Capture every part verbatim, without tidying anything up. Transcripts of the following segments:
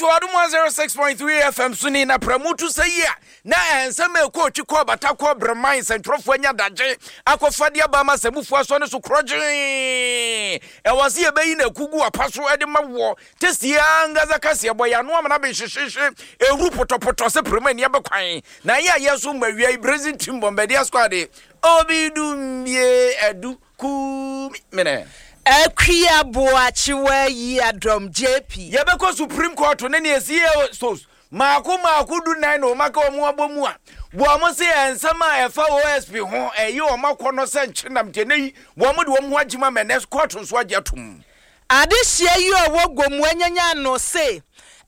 To Adom one oh six point three F M so ni na pramutu sɛ yi a na ɛnsɛm a ɛkɔ otwi kɔ bata kɔ brɛman nsɛntwerɛfoɔ anya dagye akɔfa de aba ma sɛmufoɔ asɔ ne so korɔgyee. Ɛwɔ sɛ yɛbɛyi no akugu apa so de ma wɔ tesie ankasa kaseɛ bɔ yɛano amana bɛhyehyehye ɛhuru pɔtɔpɔtɔ sɛ prɛmu ani abɛkwan na ɛyɛ a yɛ so ma wia yi Brazil team Bombardier squad obi dumbie adu kumi mene. Akua Boakyewa yi adɔm J P. Yɛbɛkɔ Supreme Court ne ne ɛsi sos maako maako du nan na ɔma ka ɔmo abɔ mu a wɔn se nsɛm a ɛfa O S P ho ɛyɛ ɔmo akɔ no sɛ nkyenam nti ɛnɛ yi wɔn de wɔn ho agyima mɛ nɛ court nso agye atom. Adehyia yi a ɔwɔ Gomu anyanya no se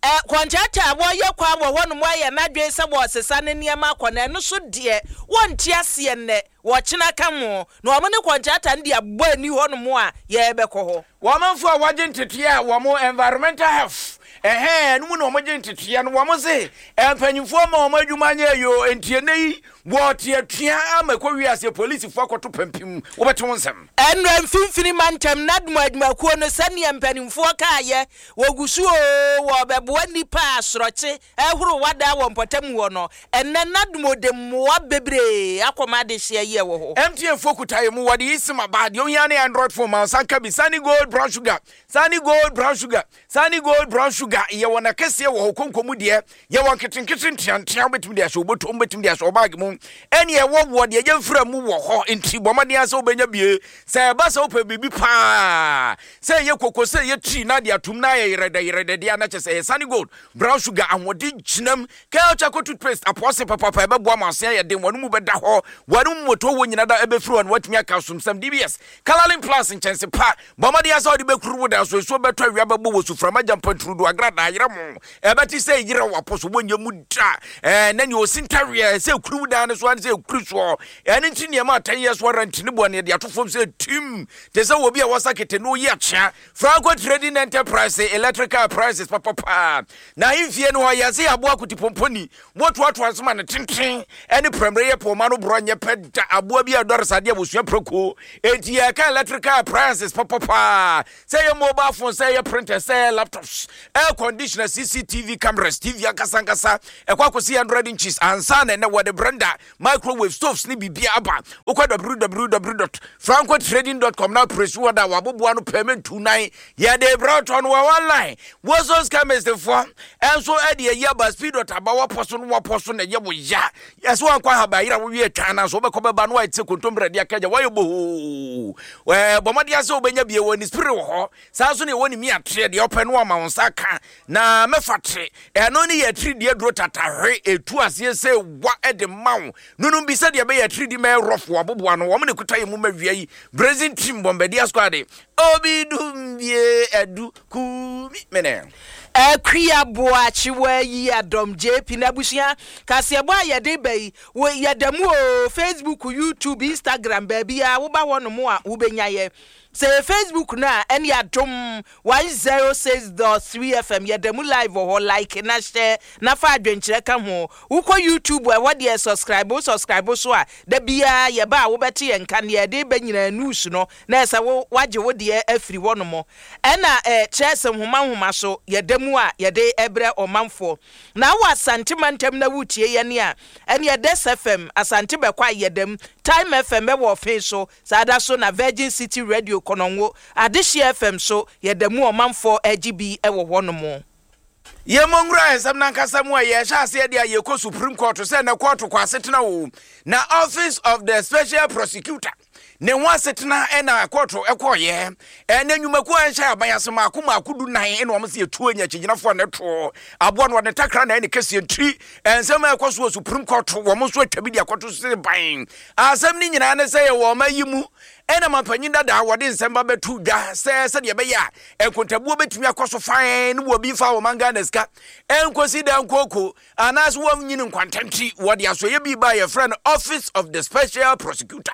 ɛ contractor a wɔyɛ kwan wɔ hɔnom ayɛ n'adwene sɛ wɔresesa ne nneɛma akɔ na ɛno so deɛ wɔnte aseɛ nnɛ wɔkyena ka ho na wɔn ne contractor no de abɔ ani hɔnom a yɛrebɛkɔ hɔ. Wɔn amanfo a wɔagye nteteɛ a wɔn environmental health ɛhɛn no mu na wɔn gye nteteɛ no, wɔn se mpanyinfoɔ ma wɔn adwuma nyɛ yo ntie ne yi wɔte atua ama ɛkɔ wiase polisifoɔ akɔto pampim wɔbɛte wɔn nsɛm. Ɛnura mfimfini mantam NADMO adwumakuo no, sɛnea mpanimfoɔ kaayɛ wɔgu so o wɔbɛboa nnipa a asorɔkye ɛhoro wada wɔ mpɔtam wɔ no. Ɛnɛ NADMO de mmoa bebree akɔma adehyeɛ yi ɛwɔ hɔ. M T N fo kuta yɛ mu wɔde yi sim aba deɛ ohia ne Android phone ma nsa nka bi. Sani Gold brown sugar, Sani Gold brown sugar, Sani Gold brown sugar, yɛwɔ n'akɛseɛ wɔ hɔ konko mu deɛ yɛwɔ nketenkete nteantea wobɛtumi de ahyɛ wobɔtɔ wobɛtumi de ahyɛ ɔbag mu ɛne ɛwɔ wɔ deɛ yɛmfira mu wɔ hɔ. Nti bɔ mmɔden sɛ wobɛnya bie sɛ ɛba sɛ wopɛ biribi paa sɛ ɛyɛ koko sɛ ɛyɛ tii na de atom na ayɛ yerɛdɛ yerɛdɛ deɛ na kyɛ sɛ ɛyɛ Sani Gold brown sugar. Ahoɔden gyinam Kel Charcoal toothpaste apɔse papapa ɛbɛboa ma ase ayɛ den, wɔn mu bɛda hɔ, wɔn mu moto wɔ nyina da ɛbɛfiri hɔ na watumi aka asomsɛm. D B S Colourlin Plus nkyɛnse pa, bɔ mmɔden sɛ wode bɛkuru wo dan so nsuo bɛtɔ, awia bɛbɔ wɔ suframa gya mpanturudu agradaa yerɛ mo ɛbɛte sɛ yerɛ wapɔ so wɔnyɛ mu da ɛɛ na nea ɔsi ntareɛ sɛ ekuru wo dan no so ane sɛ ekuru soɔ. Ɛno nti nneɛma a ten years warranty ne boɔ ne yɛde ato fam sɛ tim te sɛ obi a wɔsa kete na oyi akyea. Franco Trading Enterprise, electrical appliances papapaa na ahemfie no hɔ yɛsɛ yɛaboa kotipomponi wɔtoatoa nso ma ne tenten ɛne prɛmmerɛ yɛ pɔma no borɔ nyɛ pɛ da aboa bi a ɛdɔre sadeɛ abusua prɛko. Enti yɛka electrical appliances papapaa sɛ ɛyɛ mobile phone, sɛ ɛyɛ printer, sɛ ɛyɛ laptops, air conditioner, C C T V cameras, T V ankasa ankasa ɛkɔ akɔsi hundred inches ansa na ɛnɛ wɔde blender, microwave, stoves ne biribia aba. Wokɔ w w w dot francotrading dot com na press wɔ da waboboa no pɛmɛ nan yɛde brɛ no wɔ online. Wɔsons Chemist foɔ ɛnso ɛde ayi aba speed dot aba wɔpɔ so no wɔpɔ so na ɛyɛ wo ya yɛsɛ wankɔ ahaba yera wowie twa na so wobɛkɔ bɛba no wayɛ te sɛ kontombrɛ de aka gya wayɛ bohoo. Bɔ mmɔden sɛ wobɛnya bie wɔ ne spirit wɔ hɔ saa nso ne ɛwɔ ne mi ateɛ deɛ ɔpɛ no ama wo nsa ka na mɛfa tere ɛno ne yɛ atirideɛ duro tatahwe ɛtu aseɛ sɛ wa ɛde ma wo nunum bi sɛdeɛ ɛbɛyɛ atiridi mɛyɛ rɔfo aboboa no wɔn ne kuta yɛ mu ma wia yi Brazil team Bombardier squad obi dumbie adu kumi mene. Akua Boakyewa yi adɔm J P n'abusua kaseɛbɔ a yɛde ba yi wo yɛda mu o Facebook, YouTube, Instagram, baabi a woba hɔ nom a wobɛnya yɛ. Sɛ yɛ Facebook no a ɛne Adom one oh six point three F M, yɛda mu live wɔ hɔ. Like na hyɛ na fa adwenkyerɛ ka ho. Wokɔ YouTube a, ɛhɔ deɛ subscribe, wo subscribe so a da biara yɛba a wobɛte yɛn nka neɛ yɛde ba nyinaa news no na ɛsɛ wo wagye wo deɛ afiri hɔ nom. Ɛna ɛɛ kyerɛ sɛ nhoma nhoma so yɛda mu a yɛde ɛbrɛ ɔmanfoɔ na awɔ Asante mantam na wotie yɛn a ɛne Ɛdɛs F M Asante bɛkɔ a yɛda mu, Time F M ɛwɔ ɔfen so saa da so na Virgin City Radio Kɔnɔngo, Adehyeɛ F M so yɛda mu ɔmanfoɔ agye bi ɛwɔ hɔ nom. Yɛmmɔ nwura nsɛm nankasa mu a yɛhyɛ aseɛ deɛ a yɛkɔ Supreme Court sɛ na court kɔ asetena o na Office of the Special Prosecutor ne ho asetena ɛna court ɛkɔɔyɛ ɛna nnwumakuo a ɛnhyɛ aban ase maako maako du nan ɛna wɔn sɛ yɛtuo nya akyigyinafoɔ a ne toɔ aboa no wɔde takra na ɛne kɛseɛ ntiri ɛnsɛm a ɛkɔ so wɔ Supreme Court wɔn nso atwa bi de akɔto sese ban. Asɛm no nyinaa ne sɛ yɛwɔ ɔma yi mu ɛna mampanyin dada wɔde nsɛm ba bɛto dwa sɛ sɛdeɛ ɛbɛyɛ a nkontabuo bɛtumi akɔ so fan ne wɔ bi mfa wɔn Ghana sika ɛnkosi da nkooko anaasɛ wɔnyini nkwantɛnti wɔde asɔyɛ bi ba yɛfrɛ no Office of the Special Prosecutor.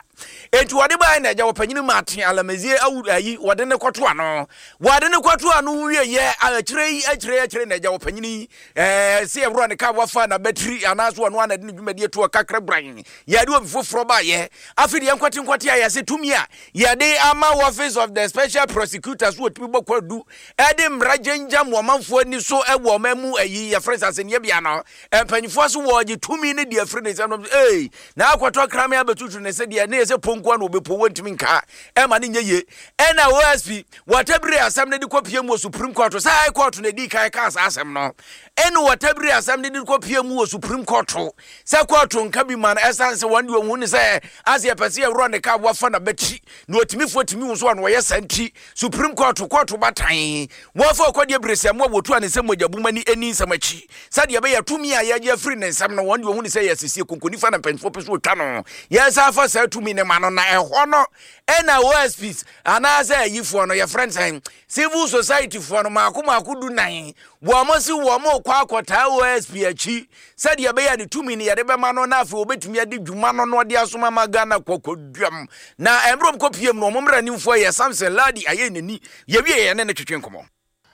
Enti wɔde baeɛ na agya wɔpanyini Martin Alamazie awu ayi wɔde ne kɔto ano wɔde ne kɔto ano wieyɛ akyire yi akyire akyire na agya wɔpanyini yi ɛɛ sɛ yɛworɔ ne ka wafa na bɛtiri anaasɛ ɔno ana de ne dwumadie to ɔkakra bran yɛde obi foforɔ baayɛ. Afei deɛ nkwate nkwate a yɛsɛ tumi a a yɛde ama Office of the Special Prosecutor so wɔtumi bɔ kwadu ɛde mmara gyangyan wɔ ɔmanfoɔ ani so ɛwɔ ɔman mu ayi yɛfrɛ sɛ asɛnniɛ no mpanyinfoɔ so wɔgye tumi ne deɛ afiri ne nsɛm no ee na akɔtɔ krame abɛtutu ne sɛ deɛ ne yɛ sɛ ponkoa na wɔbɛpo wɔntumi nka ɛma ne nyɛ yie. Ɛna O S P wɔtabiri asɛm no de kɔpie mu wɔ Supreme Court sɛ High Court na ɛdi kan kaa saa asɛm no, ɛne wɔtabiri asɛm no de kɔpie mu wɔ Supreme Court sɛ court nka bi ma no, ɛsiane sɛ wɔn de wɔn hu ne sɛ ase yɛpɛ sɛ yɛworɔ ne ka wafa na bɛkyi na ɔtumi tumi wo so a na wɔyɛ saa nti Supreme Court court batan wɔfa ɔkɔdeɛ bere sɛ mo a wɔtu a ne nsɛm mogya buma ni ani nsɛm akyi sɛdeɛ ɛbɛyɛ tumi a yɛgye afiri ne nsɛm no, wɔn de wɔn hu ne sɛ yɛ asisie konkonifa na mpanyinfoɔ pɛ so wɔtwa no yɛnsa afa saa tumi ne ma no. Na ɛhɔ no ɛna O S Ps anaasɛ ayifoɔ no yɛfrɛ no sɛn, civil society foɔ no maako maako du nan wɔn mo si wɔn mo kɔ akɔtaa O S P akyi sɛdeɛ ɛbɛyɛ ne tumi no yɛde bɛma no na afei wɔbɛtumi ade dwuma no na ɔde asoma ma Ghana kɔkɔduam. Na mmerɛ kɔ piem no, ɔmo mmeranimfoɔ yɛ Samson Ladi ayɛ n'ani yɛwie yɛn ne ne twetwe nkɔmmɔ.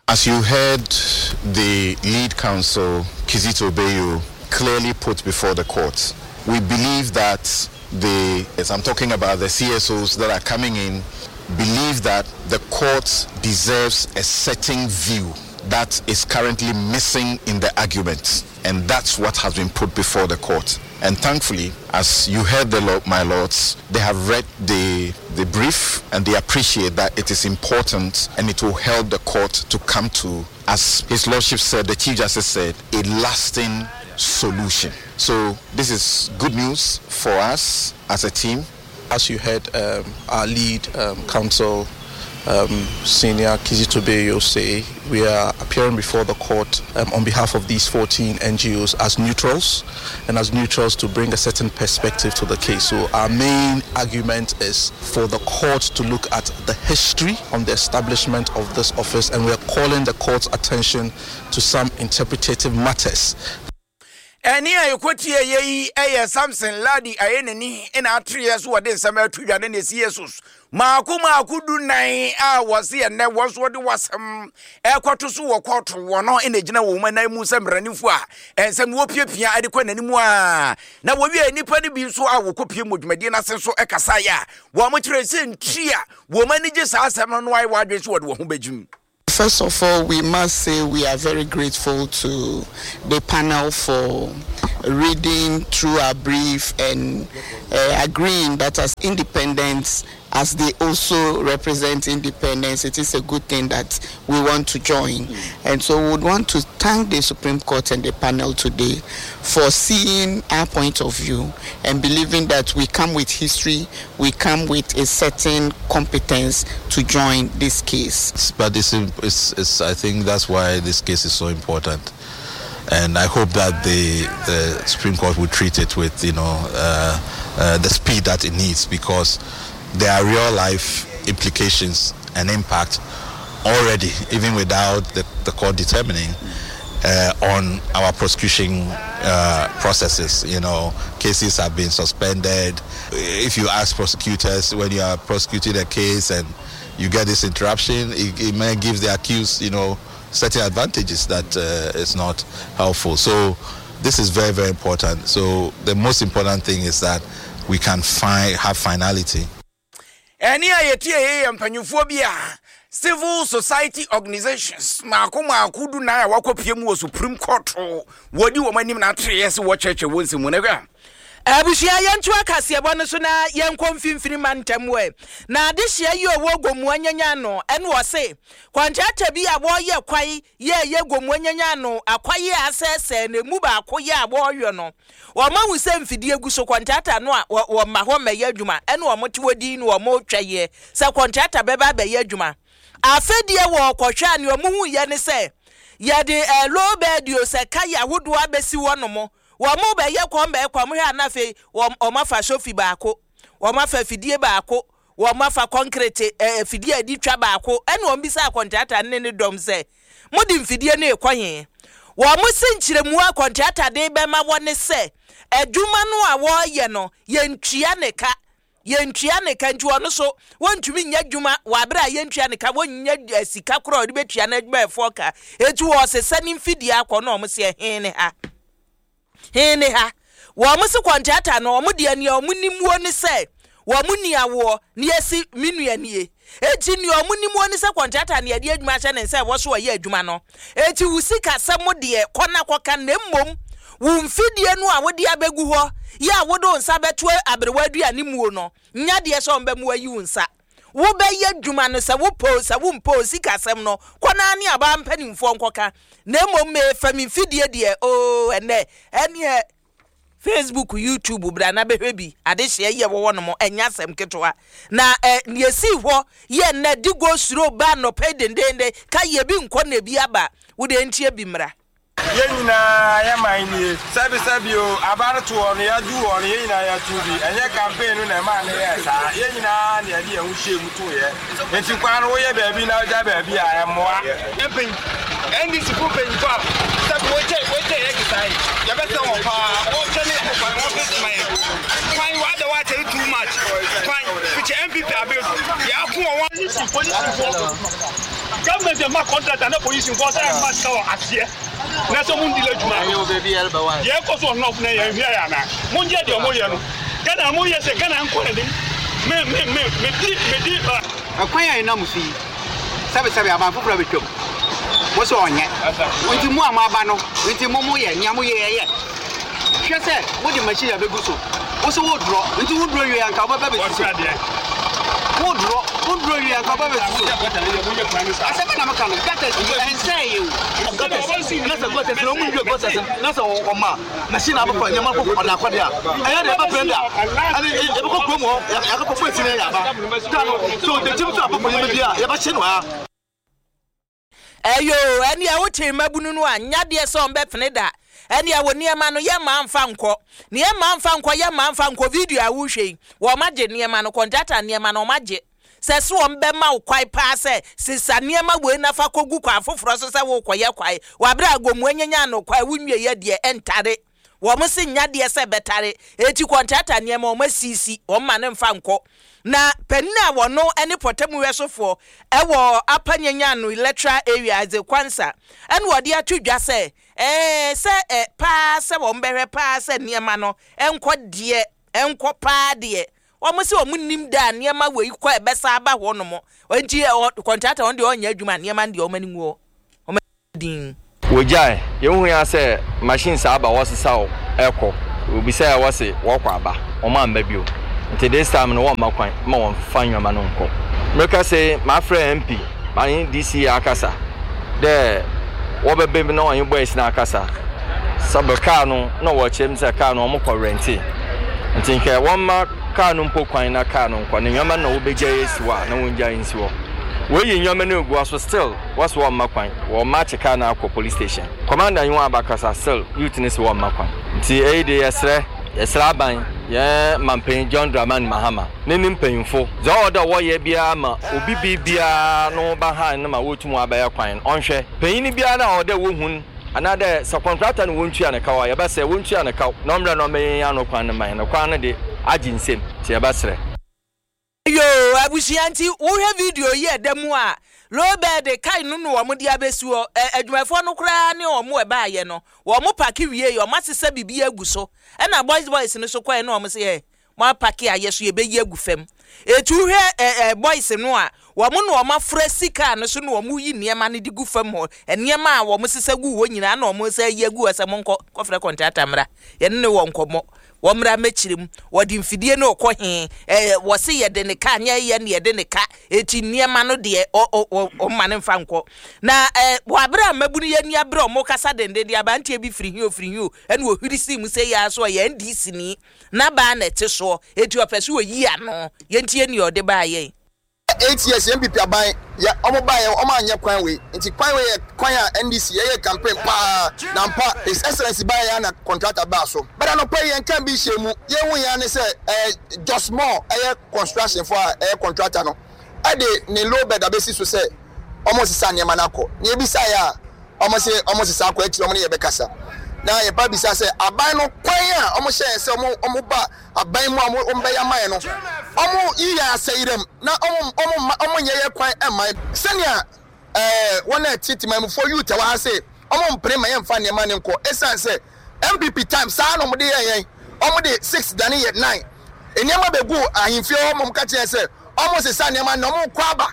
As you heard the lead counsel, Kizito Beyo, clearly put before the court, we believe that the, as I'm talking about the C S Os that are coming in, believe that the court deserves a certain view that is currently missing in the argument. And that's what has been put before the court. And thankfully, as you heard the law, my lords, they have read the, the brief and they appreciate that it is important and it will help the court to come to, as His Lordship said, the Chief Justice said, a lasting solution. So this is good news for us as a team. As you heard um, our lead um, counsel, um, Senior Kizito Beyo, say, we are appearing before the court um, on behalf of these fourteen N G Os as neutrals, and as neutrals to bring a certain perspective to the case. So our main argument is for the court to look at the history on the establishment of this office, and we are calling the court's attention to some interpretative matters. Ɛne a yɛkɔtie yɛ yi ɛyɛ Samson Ladi ayɛ n'ani ɛna atereɛ so wɔde nsɛm ato dwa ne ne C S Os maako maako du nan a wɔse ɛnɛ wɔn nso wɔde wasɛm ɛkɔto so wɔ kɔɔto wɔ no ɛna gyina wɔn nan mu sɛ mmaranimfo a ɛnsɛm wɔpiapia ɛde kɔ n'anim a na wɔwie nnipa no bi nso a wɔkɔpie mu dwumadie no ase nso ɛkasaeɛ a wɔn kyerɛ sɛ nti a wɔn ani gye saa asɛm no no ayɛ wɔadwene so wɔde wɔn ho bɛgyim. First of all, we must say we are very grateful to the panel for reading through our brief and uh, agreeing that as independents, as they also represent independence, it is a good thing that we want to join. And so we would want to thank the Supreme Court and the panel today for seeing our point of view and believing that we come with history, we come with a certain competence to join this case. But it's, it's, it's, I think that's why this case is so important. And I hope that the, the Supreme Court will treat it with, you know, uh, uh, the speed that it needs, because there are real life implications and impact already, even without the, the court determining, uh, on our prosecution uh, processes. You know, cases have been suspended. If you ask prosecutors, when you are prosecuting a case and you get this interruption, it, it may give the accused, you know, certain advantages that uh, is not helpful. So this is very, very important. So the most important thing is that we can find have finality. Ɛne a yɛtie yɛ yɛ mpanyinfoɔ bi a civil society organizations maako maako du nan a wakɔpie mu wɔ Supreme Court wɔdi wɔn anim na atereɛ sɛ wɔkyerɛkyerɛ wɔn nsɛm mu na hwɛ. Abusua, yɛnto akaseɛbɔ no so na yɛnkɔ mfimfini ma ntɛm ɛ na adehyia yi ɔwɔ Gomoa nyanya no ɛne ɔse kɔntrata bi a wɔreyɛ kwae yɛɛyɛ Gomoa nyanya no akwaye a asɛesɛe na emu baako yɛ a wɔreyɔ no, wɔn ahu sɛ mfidie gu so. Kɔntrata no a wɔma hɔ mmɛyɛ adwuma ɛne wɔn te wɔ din no wɔn retwa yɛ sɛ kɔntrata bɛba abɛyɛ adwuma. Afɛdeɛ wɔ kɔhwɛ a nea wɔn hu yɛ ne sɛ yɛde ɛɛ low bed o sɛ kaya ahodoɔ abɛsi hɔ nom, wɔn mo bɛyɛ kɔn bɛyɛ kɔn mo hwɛ ana afei wɔn wɔn afa sofi baako, wɔn afa fidie baako, wɔn afa concrete ɛɛ fidie a yɛde twa baako. Ɛna wɔn bisa akɔntrata ne ne dɔm sɛ mo de mfidie no ekɔ he? Wɔn mo si nkyerɛmu a kɔntrata de bɛma wɔn ne sɛ adwuma no a wɔreyɛ no yɛntua ne ka, yɛntua ne ka, nti ɔno so wɔntumi nyɛ adwuma wɔ abere a yɛntua ne ka, wɔnyɛ sika korɔ a ɔde bɛtua n'adwumayɛfoɔ ka, eti wɔsesa ne mfidie akɔ. Na wɔn sɛ he ne ha, he ne ha? Wɔn si kɔntrata no wɔn deɛ nea wɔn nimuo ne sɛ Wɔn ni awoɔ ne yɛsi me nua nie. Eti nea ɔmo nim wɔ ne sɛ kɔntrata ne yɛde adwuma ahyɛ ne nsa ɛwɔ so ɔyɛ adwuma no. Eti wo sika sɛm deɛ, kɔ na kɔka, na mmom wo mfidie no a wode abɛgu hɔ yɛ a wode wo nsa bɛto aberewa aduane muo no, nya deɛ sɛ ɔmbɛmu ayi wo nsa. Wobɛyɛ adwuma no, sɛ wopɛ o, sɛ wompɛ o, sika sɛm no, kɔ naa ne abaa mpanimfoɔ nkɔka, na mmom mefa me mfidie deɛ oo. Ɛnɛ ɛneɛ Facebook, YouTube, bra na bɛhwɛ bi. Adehyeɛ yɛ wɔwɔ nom, ɛnyɛ asɛm ketewa na ɛ deɛ si hɔ yɛ nnɛ di go suro ba nnɔpɛ dendenden ka yɛ bi nkɔ na ebi aba. Wode ntie bi mmra. Yɛn nyinaa yɛ man nie. Sɛbisɛbi o, aba no toɔ no, yɛadu hɔ no, yɛn nyinaa yɛto bi. Ɛnyɛ campaign no na ɛma ne yɛ saa. Yɛn nyinaa na yɛde yɛn ho hyɛ mu toeɛ. Nti kwan no, woyɛ baabi na wogya baabi a, ɛmmoa. Mpɛn N D C fo mpanyinfo a sɛbi wɔkyɛ wɔkyɛ yɛ kesa yi, yɛbɛsɛ wɔn paa. Wɔkyɛ ne kwan, wɔn fɛ ma yɛ kwan wada wɔakyɛ no too much. Kwan fikyɛ N P P abere so yɛ ako wɔ wɔn. Polisi, polisifoɔ, government ma contractor na polisifoɔ sɛ ɛma sika wɔ aseɛ na sɛ mo ndi adwuma deɛ ɛkɔ so ɔnɔf na yɛn hwɛ yɛ ana mo ngye deɛ ɔmo yɛ no. Ghana mo yɛ sɛ Ghana nkɔ n'anim. Me me me me di me di. Ɛkwan a ɛnam so yi, sɛbesɛbe, aban foforɔ a bɛtwam wo sɛ ɔnyɛ nti mo a moaba no nti mo moyɛ nea moyɛ. Yɛyɛ hwɛ sɛ wode machine abɛgu so, wo sɛ wodorɔ nti wodorɔ wie anka wobɛba bɛsi so. Wodorɔ, wodorɔ wie anka wobɛba bɛsi so. Asɛm na meka no, gutters ɛnsɛ yɛ o. Gutters na sɛ gutters na ɔmu nwie gutters na sɛ ɔma machine abɛfa nneɛma kɔ ɔda akɔde a ɛyɛ de ɛbɛpɛn da ɛne yɛbɛkɔ kurom hɔ, yɛakɔpɔ esi na yɛ aba ta no so ɔdakyim so akɔpɔ nneɛma bi a yɛbɛhyɛ no ha. Ɛyo, ɛnea wote mmabunu no a nyadeɛ sɛ ɔmbɛpene da, ɛnea wɔ nneɛma no yɛ mmaa mfa nkɔ ne yɛ mmaa mfa nkɔ, yɛ mmaa mfa nkɔ. Video a wohwɛ yi, wɔn agye nneɛma no, kɔntrata nneɛma no wɔn agye sɛ so wɔn bɛma wo kwae paa sɛ sisa nneɛma wei nafa kɔgu kwan foforɔ so sɛ wokɔyɛ kwae wabere agomu anyanya no kwae wonwie yɛ deɛ ɛntare. Wɔn si nyadeɛ sɛ bɛtare eti kɔntrata nneɛma wɔn asisi wɔn ma ne mfa nkɔ. Na panin a wɔno ne pɔtɛmuwɛsofoɔ ɛwɔ Upper Nyanyano Electoral Area, Adze Kwansa, ɛna wɔde ato dwa sɛ ɛɛ sɛ ɛ paa sɛ wɔn bɛhwɛ paa sɛ nneɛma no ɛnkɔ deɛ ɛnkɔ paa deɛ. Wɔn sɛ wɔn nim da nneɛma wei kɔ ɛbɛsa aba hɔ nom nti ɛ kɔntrata wɔn deɛ ɔnyɛ adwuma, nneɛma no deɛ wɔn anim wɔ wɔn din. Wogyae yɛhu ya sɛ machine saa aba, wɔsesaw ɛkɔ obi sɛ wɔse wɔkɔ aba, wɔn amba bio. Nti this time no, wɔmma kwan ma wɔmfa nneɛma no nkɔ. Mmerika sɛ mafrɛ M P mane D C akasa dɛ wɔbɛbɛ mu na wɔnye boys no akasa sɛbɛ kaa no na wɔkyerɛ mu sɛ kaa no wɔn kɔ rent, nti nkɛ wɔmma kaa no mpo kwan na kaa no nkɔ ne nneɛma no na wɔbɛgya esi hɔ a na wɔngya nsi hɔ. Wɔyi nneɛma no egu hɔ so, still wɔsɛ wɔmma kwan. Wɔn akye kaa no akɔ police station. Commander yi wɔn abakasa, still youth ne sɛ wɔmma kwan. Nti ɛyi de, yɛsrɛ yɛsrɛ aban, yɛn mampanyin John Dramani Mahama ne ne mpanyinfo, dza ɔwɔ dɛ wɔyɛ biara ma obi bi biara no ba han no ma wɔtum abɛyɛ kwan no. Ɔnhwɛ panyin biara na ɔwɔ dɛ wohun anaadɛ sɛ kɔntrata no wɔntua ne kaw a, yɛbɛsrɛ wɔntua ne kaw na ɔmmerɛ na ɔmɛyɛ yɛn ano kwan no ma yɛn. Kwan no de agye nsam, nti yɛbɛsrɛ. Yo, abusua, nti wohwɛ video yi ɛda mu a low bed kai no na wɔn de abɛsi hɔ. Ɛ adwumayɛfoɔ no koraa ne wɔn ɛbaayɛ no, wɔn park wie yi, wɔn asesa biribi agu so, ɛna boys boys no so kɔɛ na wɔn sɛ yɛ mo apark a yɛ so yɛbɛyi agu fam. Etu hwɛ ɛ ɛ boys no a wɔn na wɔn afra sika no so na wɔn yi nneɛma no de gu fam hɔ. Nneɛma a wɔn sesa gu hɔ nyinaa na wɔn sɛ yi agu hɔ sɛ mo nkɔ kɔfrɛ kɔntrata mmra, yɛne ne wɔ nkɔmmɔ, wɔn mmra mɛkyerɛ mu. Wɔde mfidie no kɔ he ɛɛ wɔsi yɛde ne ka nyɛ yɛ ne yɛde ne ka eti nneɛma no deɛ ɔ ɔ ɔ ɔmma ne nfa nkɔ. Na ɛɛ wɔ abere a mmabunu yɛ ni abere a wɔn kasa dendenden, aberanteɛ bi firi hi o firi hi o, ɛna ohwiri si mu sɛ yɛ aso ɔyɛ N D C ni n'abaa na ɛte soɔ, eti ɔpɛ so oyi ano. Yɛntie nea ɔde baa yɛn. Eight years N P P aban yɛ, ɔmo ba yɛ, ɔmo anyɛ kwan wei. Nti kwan wei yɛ kwan a N D C yɛyɛ campaign paa na mpa His Excellency ba yɛ na contractor baa so bɛda no pɛ. Yɛn kan bi hyɛ mu, yɛn hu yɛn ne sɛ ɛɛ Josmore ɛyɛ construction fo a ɛyɛ contractor no ɛde ne low bed abɛsi so sɛ ɔmo sisa nneɛma no akɔ. Na ebisa yɛ a, ɔmo sɛ ɔmo sisa akɔ akyire, ɔmo ne yɛ bɛkasa. Na yɛba bisa sɛ aban no kwan a ɔmo hyɛ yɛn sɛ ɔmo ɔmo ba aban mu a ɔmo ɔmo bɛyɛ ama yɛn no, ɔmo yi yɛn asɛyerɛm na ɔmo ɔmo ma ɔmo nyɛ yɛ kwan ɛma yɛn sɛnea ɛɛ wɔn a ɛte temamufoɔ youth a wɔ ha sɛ ɔmo mpere ma yɛmfa nneɛma ne nkɔ, esan sɛ N P P time saa na ɔmo de yɛn yɛn ɔmo de six dane yɛ nine. Nneɛma bɛgu ahemfie hɔ mom ka kyerɛ sɛ ɔmo sesa nneɛma na ɔmo kɔ aba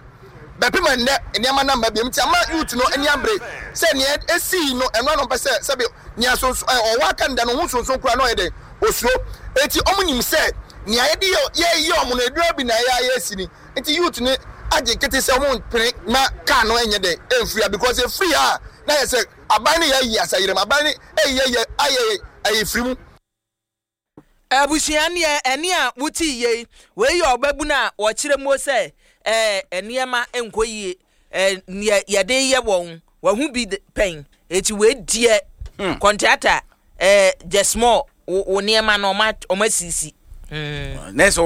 bɛpem nnɛ nneɛma na mba biam. Nti ama youth no ani abere sɛ nea esii no ɛno ano mpɛ sɛ sɛbi nea sonso ɛ ɔwɔ aka nda no ho sonson kura na ɔyɛ dɛ osuro. Eti ɔmo nim sɛ nea yɛde yɛ yɛ yɛ ɔmo no edura bi na yɛ ayɛ esi ni. Nti youth no agye nkete sɛ ɔmo mpene na kaa no ɛnyɛ dɛ ɛmfiri ha, because efiri ha na yɛ sɛ aban no yɛ ayi asayerem, aban no ɛyɛ yɛ ayɛ ɛyɛ firi mu. Abusua neɛ ɛne a wote yie wei yɛ ɔbɛbu no a wɔkyerɛ mu sɛ ɛɛ nneɛma nkɔ yie, ɛɛ neɛ yɛde yɛ wɔn wɔn ho bi pɛn, eti wei deɛ kɔntrata ɛɛ just small wo wo nneɛma no ɔmo ɔmo asisi. Na sɛ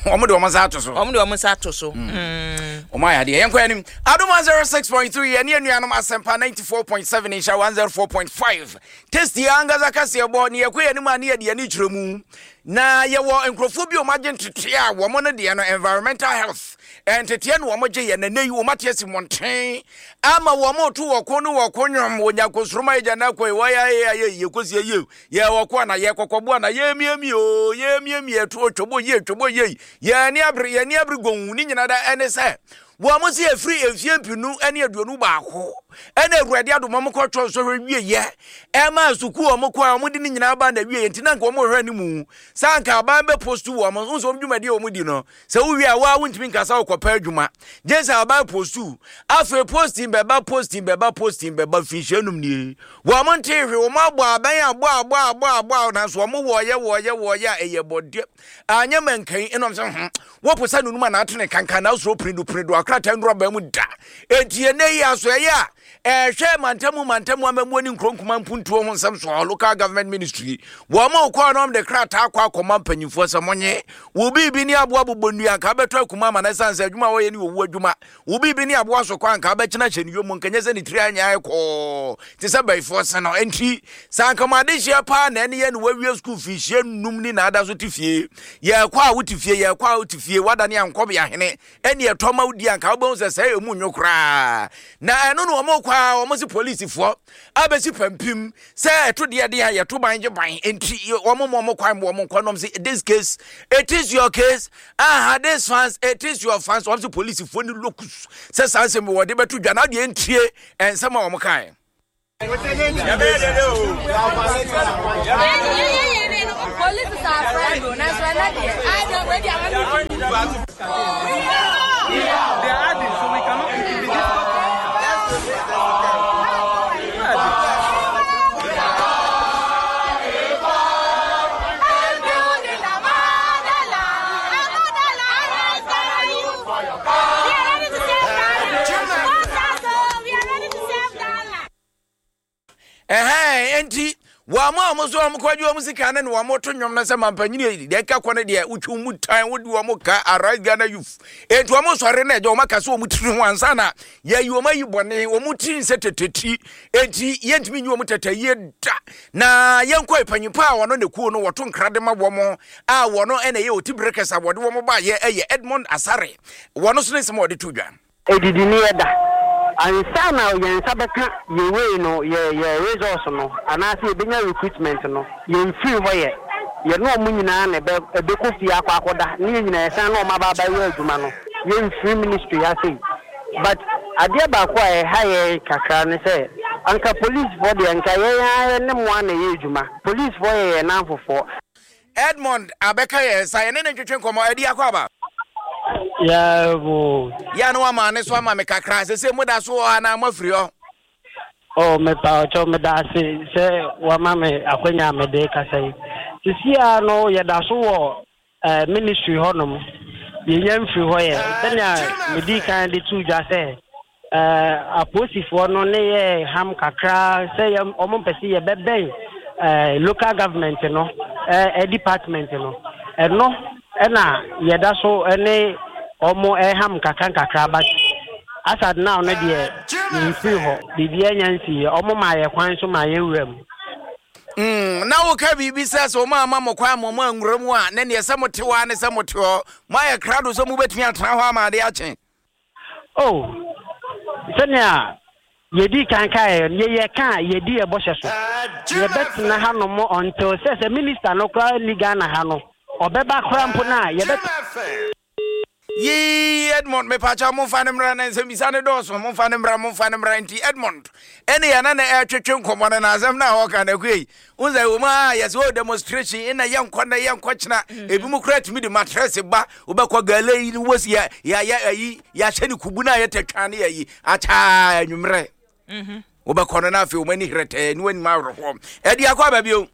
ɔmo de ɔmo nsa ato so. Ɔmo de ɔmo nsa ato so. Ɔmo ayɛ adeɛ. Yɛnkɔ anim. Adom one oh six point three, yɛne anuanom Asɛmpa ninety-four point seven, Nhyira one oh four point five, Tasty ankasa kaseɛ bɔ ne yɛkɔ yɛn anim a ne yɛde yɛne kyerɛ mu na yɛwɔ nkurɔfoɔ bi a ɔmo agye nteteɛ a wɔn no deɛ no environmental health nteteɛ no wɔn gye yɛ nane yi wɔn ate asi mmɔnten ama wɔn to wɔ ko ne wɔ ko nwom wɔ nyankosoroma agya na akɔ wɔyɛ ayɛ ayɛ yɛ kɔsi yie yɛ wɔ ko ana yɛ kɔkɔbo ana yɛ miamia o yɛ miamia to twɛbɔ yie twɛbɔ yie yɛ ani abere yɛ ani abere gɔn ne nyinaa da. Ɛne sɛ wɔn mo si efiri efie mpinu ɛne aduonu baako ɛna Awurade adom wɔn kɔtɔ nsɔhwɛ wie yɛ ɛma sukuu wɔn kɔ a wɔn de ne nyinaa ba na wie. Nti na nka wɔn hwɛ ne mu saa nka aban bɛ post wɔn nso wɔn dwumadie a wɔn di no sɛ wowie a waa wontumi nkasa wɔkɔpɛ adwuma gye sɛ aban post. Afei posting bɛba, posting bɛba, posting bɛba mfinhyia num nie wɔn nte hwee. Wɔn abɔ aban abɔ abɔ abɔ abɔ nanso wɔn wɔɔyɛ wɔɔyɛ wɔɔyɛ a ɛyɛ bɔdeɛ anyɛ mɛnkan. Ɛnam sɛ hmm wɔpɔ sɛ nunum a n'atene kankan na asoro piridu piridu akrataa nnura bɛn mu da. Eti ɛnɛ yi aso ɛyɛ a ɛhwɛ mantamu mantamu amamuo ne nkuro nkuma mpuntuo ho nsɛm so, Local Government Ministry, wɔn a wɔkɔɔ no de krataa akɔ akɔma mpanyinfoɔ sɛ mɔnye wo biribi ne aboa bobɔ nnua nka bɛtɔ akuma ama no, ɛsiane sɛ adwuma a wɔyɛ ne wɔwu adwuma. Wo biribi ne aboa so kɔ anka bɛkyena hyɛ ne yom nkɛnyɛ sɛ ne tiri anyɛ ayɛ kɔɔ te sɛ bɛyifoɔ se no. Enti sɛ anka mo adehyɛ paa na ɛne yɛ ne wawie sukuu fihyia num ni na ada so te fie, yɛkɔ a wote fie, yɛkɔ a wote fie, wadane ankɔbea hene ɛne ɛtɔ ma wodi anka wobɛhu sɛ sɛ ɛmu nwo koraa. Na ɛno no wɔn kɔ a wɔn se polisifoɔ abɛsi pampim sɛ ɛto deɛ deɛ a yɛto ban gye ban, nti wɔn mo wɔn kwan mo wɔn nkɔ nom sɛ this case, it is your case, aha, this fans, it is your fans. Wɔn se polisifoɔ ne locus sɛ saa nsɛm wɔde bɛto dwa na adeɛ ntie nsɛm a wɔn kae. Police is our friend, oh. That's why not there. I don't wait. They are adding, so we cannot. It will be difficult. Building a motherland, a motherland. We are ready to save Ghana. We are ready to save Ghana. Ɛhɛn, enti wɔn a wɔn nso wɔn kɔgye wɔn sika ne na wɔn to nnwom no sɛ mampanyini deɛ ɛka kɔ no deɛ wotwi mu tan wodi wɔn ka. Arise Ghana Youth, enti wɔn sɔre na ɛgya wɔn aka sɛ wɔn tiri ho ansa na yɛyi wɔn ayi bɔne wɔn tiri nsɛ tete, enti yɛntumi nyi wɔn tete yie da. Na yɛnkɔ panyimpa a wɔn ne kuo no wɔto nkra de ma wɔn a wɔn ɛna ɛyɛ oti bere kɛse a wɔde wɔn ba yɛ ɛyɛ Edmond Asare, wɔn nso ne nsɛm a wɔde to dwa. Edidi ni yɛda ansa na yɛn nsa bɛka yɛ wei no yɛ yɛ resource no anaasɛ yɛbɛnya recruitment no, yɛmfiri hɔ yɛ yɛne ɔmo nyinaa na ɛbɛ ɛbɛkɔ fie akɔ akɔda ne yɛn nyinaa yɛsan na ɔmo aba abɛyɛ adwuma no. Yɛmfiri ministry ha sei, but adeɛ baako a ɛha yɛn kakra ne sɛ anka policefoɔ deɛ nka yɛn ara ne mo ana ɛyɛ adwuma. Policefoɔ yɛ yɛn namfofoɔ. Edmond abɛka yɛn nsa, yɛne ne ntwetwe nkɔmmɔ. Ɛdi akɔ aba. Yɛbo. Yɛ no ama ne so ama me kakra sɛ sɛ moda so wɔ anaa moafiri hɔ? Oh, mepa ɔkyɛw, meda ase sɛ wama me akwanya a mede kasa yi. Sisi a no yɛda so wɔ eh, ministry hɔnom. Yɛnya mfiri hɔ yɛ sɛnea medi kan de to dwa sɛ eh, apolisifoɔ no ne yɛ ham kakra sɛ yɛ ɔmo mpɛ sɛ yɛbɛbɛn eh, local government no eh, department no. Ɛno ɛna yɛda so ne ɔmo ɛham kakra nkakra, but as at now no deɛ yɛmfiri hɔ, biribiara nya nsiiɛ. Ɔmo ma yɛ kwan so ma yɛwura mu. Mm, na woka biribi sɛ sɛ ɔma ama mo kwan ma ɔma anwura mu a, na neɛ sɛ mote hɔ a ne sɛ mote hɔ moayɛ krado sɛ mobɛtumi atena hɔ ama ade akye? Oh, sɛnea yɛdi kan kaeɛ no, yɛyɛ ka a yɛdi yɛ bɔhyɛ so, yɛbɛtena hanom until sɛ sɛ minister no koraa ni Ghana ha no. Ɔbɛba koraa mpo no a, yɛbɛ. Yii Edmond mepakyɛw momfa no mmra na nsɛmbisa no dɔɔso momfa no mmra momfa no mmra nti Edmond ɛne yɛne no ɛretwetwe nkɔmmɔ no na asɛm no a ɔka no akua yi wohu sɛ wɔ mu a yɛsɛ o demonstration ɛna yɛnkɔ nnɛ yɛnkɔ kyena mm. ebi mu koraa tumi de matrɛse ba wobɛkɔ gala yi no wɔsi yɛ yɛayɛ ayi yɛahyɛ ne kubu no a yɛtɛ ne yɛyi akyaa anwummerɛ mhm. wobɛkɔ no na afei wɔn ani herɛtɛɛ ne wɔanim awerɛhoɔ ɛde akɔ aba bio.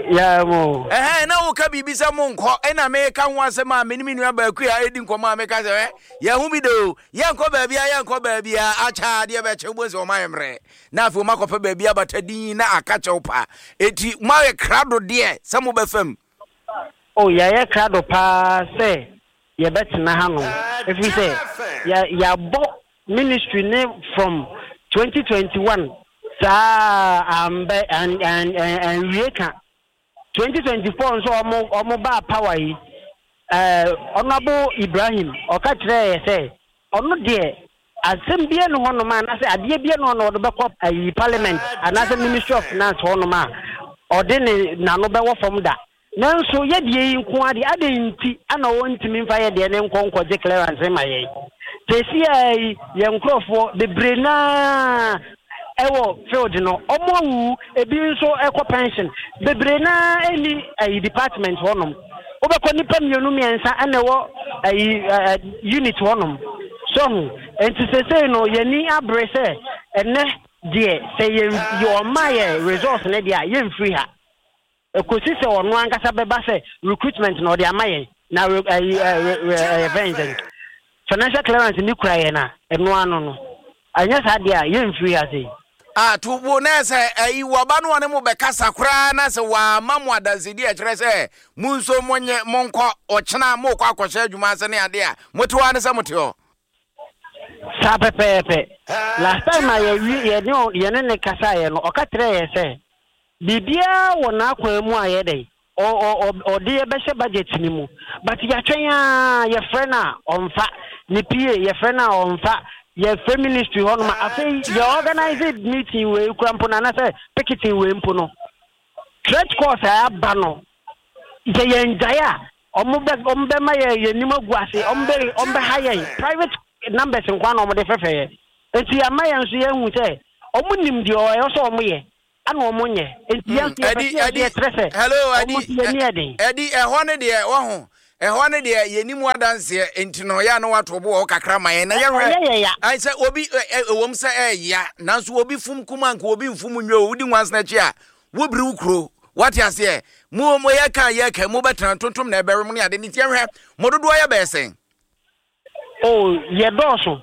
Yeah, mo. Ɛhɛn, na woka biribi sɛ monkɔ, ɛna meka ho asɛm a me ne me nua baako a ɛredi nkɔmmɔ a meka sɛ, ɛ, yɛn ho bi de o, yɛnkɔ baabi a, yɛnkɔ baabi a, akyɛ adeɛ bɛkyɛ, wobɛhu sɛ wɔn ayɛ mmerɛ. Na afei wɔn akɔpɛ baabi abata din na aka kyɛw pa. Eti moayɛ krado deɛ sɛ mobɛfam? Oh, yɛayɛ krado paa sɛ yɛbɛtena hanom, ɛfiri sɛ yɛ, yɛabɔ ministry ne from twenty twenty one saa ambɛ an an an anwie ka twenty twenty four nso ɔmo ɔmo baa power yi ɛɛ Honourable Ibrahim ɔka kyerɛɛ yɛ sɛ ɔno deɛ asɛm bia ne hɔnom a anaasɛ adeɛ bia ne hɔ na ɔde bɛkɔ ayi parliament anaasɛ ministry of finance hɔnom a ɔde ne n'ano bɛwɔ fam da. Nanso yɛ deɛ yi nko ara deɛ, adɛn nti na wɔntumi mfa yɛ deɛ no nkɔ nkɔgye clearance mma yɛn? Seesei ara yi, yɛn nkurɔfoɔ bebree no ara wɔ field no, wɔawuwu, ebi nso kɔ pension. Bebree no ara nni ayi department hɔnom. Wobɛkɔ nnipa mmienu mmiɛnsa na ɛwɔ ayi unit hɔnom. So ho? Nti seesei no, yɛn ani abere sɛ ɛnnɛ deɛ, sɛ yɛn wɔmma yɛn resource no deɛ a, yɛmfiri ha. Kosi sɛ ɔno ankasa bɛba sɛ recruitment na ɔde ama yɛn na re ɛyi ɛ re ɛyɛ fɛn sɛn financial clearance ni kura yɛn a ɛno ano no ɛnyɛ saa deɛ a yɛnfiri ha sei. Ah to bo na sɛ ɛyi wɔba no ɔne mo bɛkasa koraa na sɛ wɔama mo adansedi a ɛkyerɛ sɛ mo nso monye monkɔ ɔkyena mokɔ akɔhyɛ adwuma ase ne adeɛ a mote hɔ ara ne sɛ mote hɔ. Saa pɛpɛɛpɛ. Last time a yɛwie yɛne yɛne ne kasaeɛ no ɔka kyerɛɛ yɛn sɛ Biribiara wɔ n'akwan mu a yɛ dɛn? Ɔ ɔ ɔ ɔde yɛ bɛhyɛ budget no mu. But yɛatwɛn ara, yɛfrɛ no a, ɔmfa. Ne PA, yɛfrɛ no a, ɔmfa. Yɛfrɛ ministry hɔnom a, afei yɛ organise meeting wei kura mpo no anaasɛ picketing wei mpo no, threat calls a aba no, sɛ yɛngyae a, wɔn bɛ wɔn bɛma yɛ yɛn anim agu ase, wɔn bɛ wɔn bɛha yɛn. Private numbers nko ara na wɔde frɛfrɛ yɛn. Nti ama yɛn nso yɛahu sɛ wɔn nim deɛ ɛwɔ sɛ wɔyɛ. Ɛna wɔn nyɛ. Nti yɛn nso yɛpɛ sɛ yɛde yɛkyerɛ sɛ Hello, wɔn Adi. nso yɛn ani yɛ den. Adi, ɛhɔ no deɛ, wahu, ɛhɔ no deɛ yɛnni mu adanseɛ, nti no yɛ a na wato bo wɔ hɔ kakra ma yɛn na yɛhwɛ. Ɛnyɛ yɛ ya. Ayi sɛ obi, ɛ, ɛ, ɛwom sɛ ɛyɛ nanso obi fum kum a nka obi mfum nwe o, wodi nwansena akyi a, wobiri wo kuro. Wate aseɛ? Mo, mo yɛka a yɛka, mobɛtena ntontom na ɛbɛwe mo ne ade, nti yɛhwɛ, mo dodoɔ yɛ bɛyɛ sɛn? Oh, yɛdɔɔso.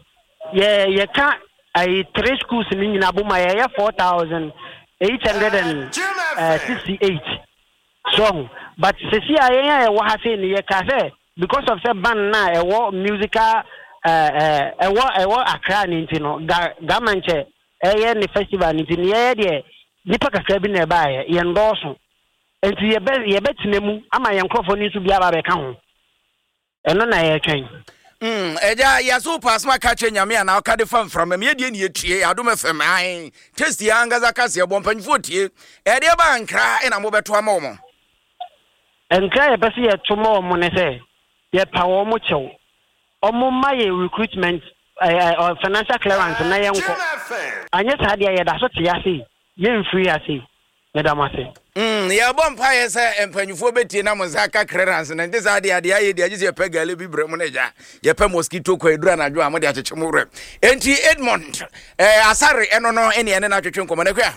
Yɛ yɛka ayi three schools no nyinaa bom a yɛyɛ four thousand eight hundred and sixty eight. So ho. But sisi a yɛn a yɛwɔ ha sei no yɛka sɛ because of sɛ band na ɛwɔ musical ɛɛ ɛwɔ ɛwɔ Accra ne nti no ga Gamankyɛ ɛyɛ ne festival ne nti no yɛyɛ deɛ nipa kakra bi na ɛbaeɛ yɛn dɔɔso. Nti yɛbɛ yɛbɛtena mu ama yɛn nkorɔfoɔ no nso bi aba abɛka ho. Ɛno na yɛretwɛn. Mm, ɛgya yɛso wopɛ asɛm aka kyerɛ Nyame anaa ɔka de fa mframa mu yɛdeɛ ne yɛtie Adom F M ae tasty ankasa kaseɛ bɔ mpanyinfoɔ tie ɛdeɛ ba nkra ɛna mobɛto ama wɔn. Nkra a yɛpɛ sɛ yɛto ma wɔn ne sɛ yɛpa wɔn kyɛw, wɔn mma yɛn recruitment eh, eh, financial clearance na yɛnkɔ. Anyɛ saa deɛ yɛda so te ase yi, yɛmfiri ase yi. Meda mo ase. Mm, yɛbɔ mpaeɛ sɛ mpanyinfoɔ bɛtie na mo nsa aka clearance no nte saa deɛ adeɛ ayɛ deɛ agye sɛ yɛpɛ gale bi brɛ mo no agya yɛpɛ mosquito kɔ ɛduru anadwo a mode akyekye mo werɛ enti Edmond eh, Asare ɛno no ɛne ɛne no atwetwe nkɔmmɔ no akua.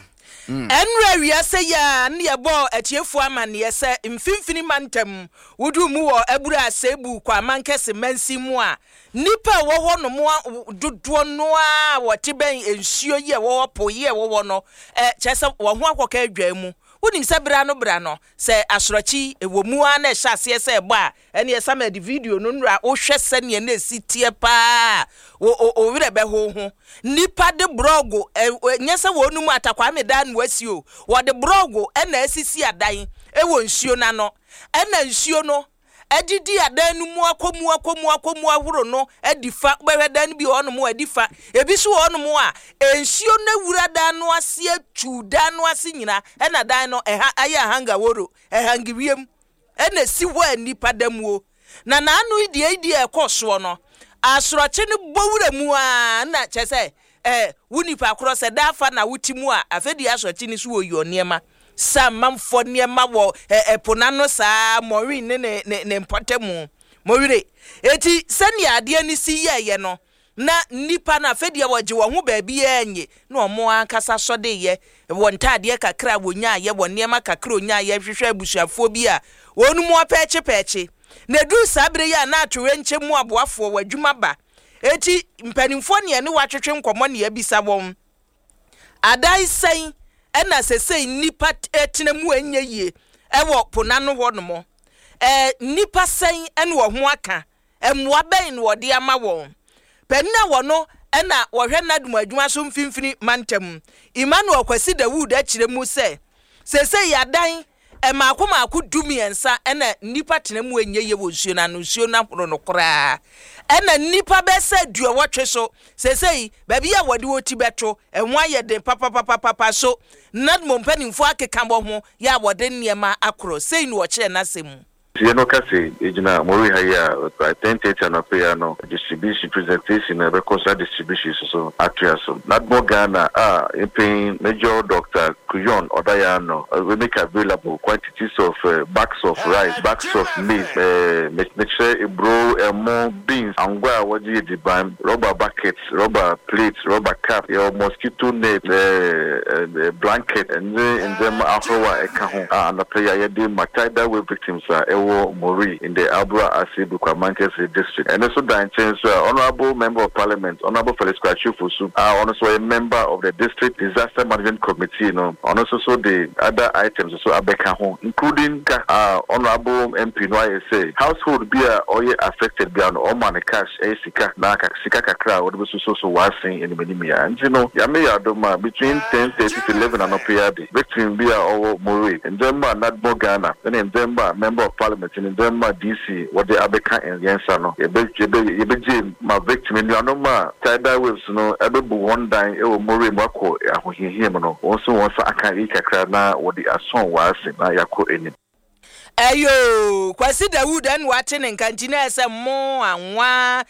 Mm. Ɛnora wiase yi a ne yɛbɔɔ atiefoɔ amanneɛ sɛ mfimfini mantam woduu mu wɔ Abura Asebu Kwamankɛse mansin mu a nnipa a ɛwɔ hɔ nom dodoɔ no ara a wɔte bɛn nsuo yi a ɛwɔ hɔ, po yi a ɛwɔ hɔ no, ɛ, kyerɛ sɛ wɔn ho akɔka adwaa mu. Wonim sɛ berɛ ano berɛ ano, sɛ asorɔkye yi wɔ mu ara na ɛhyɛ aseɛ sɛ ɛbɔ a, ɛnneɛ Samuel de video no nnora, wohwɛ sɛdeɛ na ɛsi teɛ pa ara a, wo, wo, wo werɛ bɛho wo ho. Nnipa de borɔgo, ɛ, nyɛ sɛ wɔnom Atakwame dan na wɔasi o, wɔde borɔgo na asisi adan wɔ nsuo no ano, ɛna nsuo no, adidi adan no mu akɔ mu akɔ mu akɔ mu ahorow no adi fa. Wobɛhwɛ dan no bi wɔ hɔnom a adi fa, ebi nso wɔ hɔnom a nsuo no awura dan no ase atu dan no ase nyinaa, ɛna dan no ɛha ayɛ ahangaworo, ɛhange wiem. Ɛna esi hɔ a nnipa da muo. Na n'ano yi deɛ yi deɛ ɛkɔ soɔ no, asorɔkye no bɔ wura mu ara na kyerɛ sɛ eh, wo nipa korɔ sɛ daa fa na wote mu a, afei deɛ asorɔkye no so wɔ yɔ nneɛma. Sɛ amanfoɔ nneɛma wɔ eh, ɛpo n'ano saa, Maureen ne ne ne ne mpɔtamu. Mowire. Eti sɛnea adeɛ no si yɛɛyɛ no, na nnipa no afei deɛ wɔgye wɔn ho baabiara nye, na wɔn ankasa sɔdeyɛ wɔ ntaadeɛ kakra a wɔnyaayɛ, wɔ nneɛma kakra a wɔnyaayɛ, hwehwɛ abusuafoɔ bi a wɔn mu apɛɛkyepɛɛkye. Na ɛduru saa berɛ yi a na atoyerɛnkyɛm mu aboafoɔ wɔ adwuma ba. Eti mpanimfoɔ ne ɛne wɔatwetwe nkɔmmɔ ne abisa wɔn. Adan sɛn ɛna sesei nnipa tena mu a ɛnyɛ yie ɛwɔ po n'ano hɔ nom? Ɛɛ nnipa sɛn ɛna wɔn ho aka? Mmoa bɛn na wɔde ama wɔn? Panin a wɔno ɛna wɔhwɛ NADMO adwuma so mfimfini mantam, Emmanuel Kwasi Dawood akyerɛ mu sɛ sesei adan mmaako mmaako du mmiɛnsa ɛna nnipa tena mu ɛnyɛ yie wɔ nsuo no ano, nsuo no ahoro no koraa. Ɛna nnipa bɛyɛ sɛ aduɔwɔtwe so sesei baabi a wɔde wɔn ti bɛto ɛho ayɛ den papapapapa so NADMO mpanimfoɔ akeka wɔn ho yɛ a wɔde nneɛma akorɔ. Sei na wɔkyerɛ n'asɛm mu. Yɛn no ka sɛ egyina Mori ha yi a by ten thirty anɔpa yi ano distribution presentation na ɛbɛkɔ saa distribution so atoa so. NADMO Ghana a mpanyin Major Doctor Kuyon Odayano we make available quantities of uh, bags of rice, bags of maize, mekyerɛ eburo, ɛmo, beans, angwa a wɔde yɛ diban, rubber buckets, rubber plates, rubber cap, yɛwɔ mosquito net, ɛɛ blanket, ɛne ndzɛmba ahorow a ɛka ho a anɔpa yi a yɛde ma tidal wave victims a ɛwɔ Mori in the Abura Ase Bukwamankese district. Ɛno nso da nkyɛn so a Honourable Member of Parliament, Honourable Felix Kwakye Fosu, a ɔno nso ɔyɛ member of the District Disaster Management Committee no, ɔno nso so de other items nso abɛka ho, including ka a Honourable M P no ayɛ sɛ household bi a ɔyɛ affected bi a no ɔma no cash, ɛyɛ sika na sika kakra a wɔde bɛsoso so wɔasen anim anim ya. Nti no Yame yɛ adom a between ten thirty to eleven anɔpa yi ade victim bi a ɔwɔ Mori, ndzɛmba a NADMO Ghana ɛne ndzɛmba a Member of Parliament ne ndzɛmba a D C wɔde abɛka yɛn nsa no, yɛbɛ yɛbɛ yɛbɛgye ma victim nnuanom a tidal waves no ɛbɛbu wɔn dan ɛwɔ Mori mu akɔ ahohiahia mu no, wɔn nso wɔn nsa aka yi kakra na wɔde asɔn wɔn ase na yɛakɔ anim. Ɛyo Kwasi Dawud ɛna wate ne nka nti na ɛsɛ mo anwa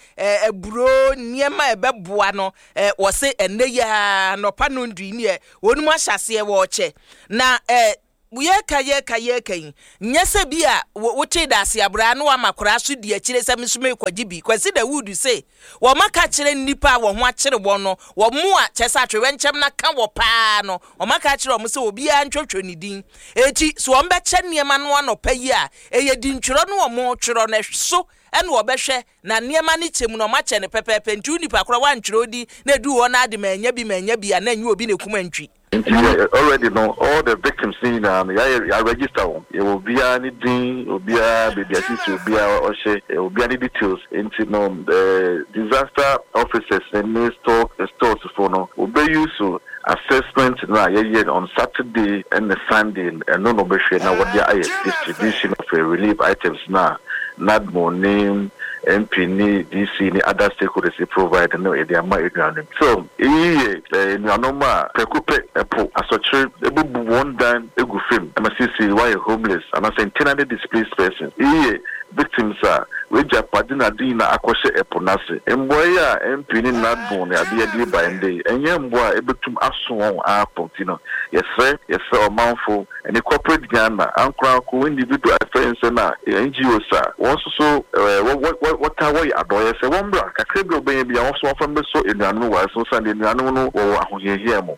aburo nneɛma a ɛbɛboa no ɛ wɔse ɛnɛ yi a nɔpa no ndui neɛ wɔn mu ahyɛ aseɛ wɔɔkyɛ na ɛ yɛka yɛka yɛka yi nyɛ sɛ bi a wote da ase abraa na wama koraa so di akyire sɛ nso mekɔgye bi. Kwasi Dawud se wɔma ka kyerɛ nnipa a wɔn ho akyere wɔn no, wɔn mu a kyɛ sɛ atwerɛnkyɛm na ka wɔ paa no, wɔma ka kyerɛ wɔn sɛ obiara ntwotwo ne din. Eti so wɔn bɛkyɛ nneɛma no anɔpa yi a ɛyɛ dintwerɛ no wɔn twerɛ no so ɛna wɔbɛhwɛ na nneɛma no kyɛ mu na wɔn akyɛ no pɛpɛɛpɛ. Nti nipa koraa wantwerɛ odi na edu hɔ na ade ma anya bi ma anya bi a na enye obi na ekum antwi. Nti already no all the victims ni nyinaa no yɛayɛ yɛ register wɔn. Yɛwɔ obiara ne din, obiara baabi asisi, obiara ɔhyɛ, obiara ne details. Nti no ɛɛ disaster officers ne store stores fo no obeyi so assessment no a yɛyɛ on Saturday ɛne Sunday, ɛno na ɔbɛhwɛ na wɔde ayɛ distribution of uh, relief items na NADMO ne M P ne D C ne other stakeholders provide no yɛde ama anuanom. So eyi yɛ anuanom a prɛko pɛ ɛpo asɔkyere ebubu wɔn dan egu fam ɛma sisi wɔayɛ homeless anaasɛ internally displaced persons. Eyi yɛ victims a wɔagya pade na ade nyinaa akɔhyɛ ɛpo n'ase. Mboa yi a M P ne NADMO ne adeɛ de ba ndɛ yi ɛnyɛ mboa a ebetum aso wɔn akɔ. Ti no yɛsrɛ yɛsrɛ ɔmanfo ɛne corporate Ghana, ankoranko, individual afɛnsɛ na N G Os a wɔn nso so ɛɛ wɔ wɔ wɔtaa wɔyɛ adɔyɛ sɛ wɔn bra kakra bi a wɔbɛnya bi a wɔn nso wɔfa mbɛsɔ nnuanom wɔ ase san de nnuanom no wɔwɔ ahohiahia mu.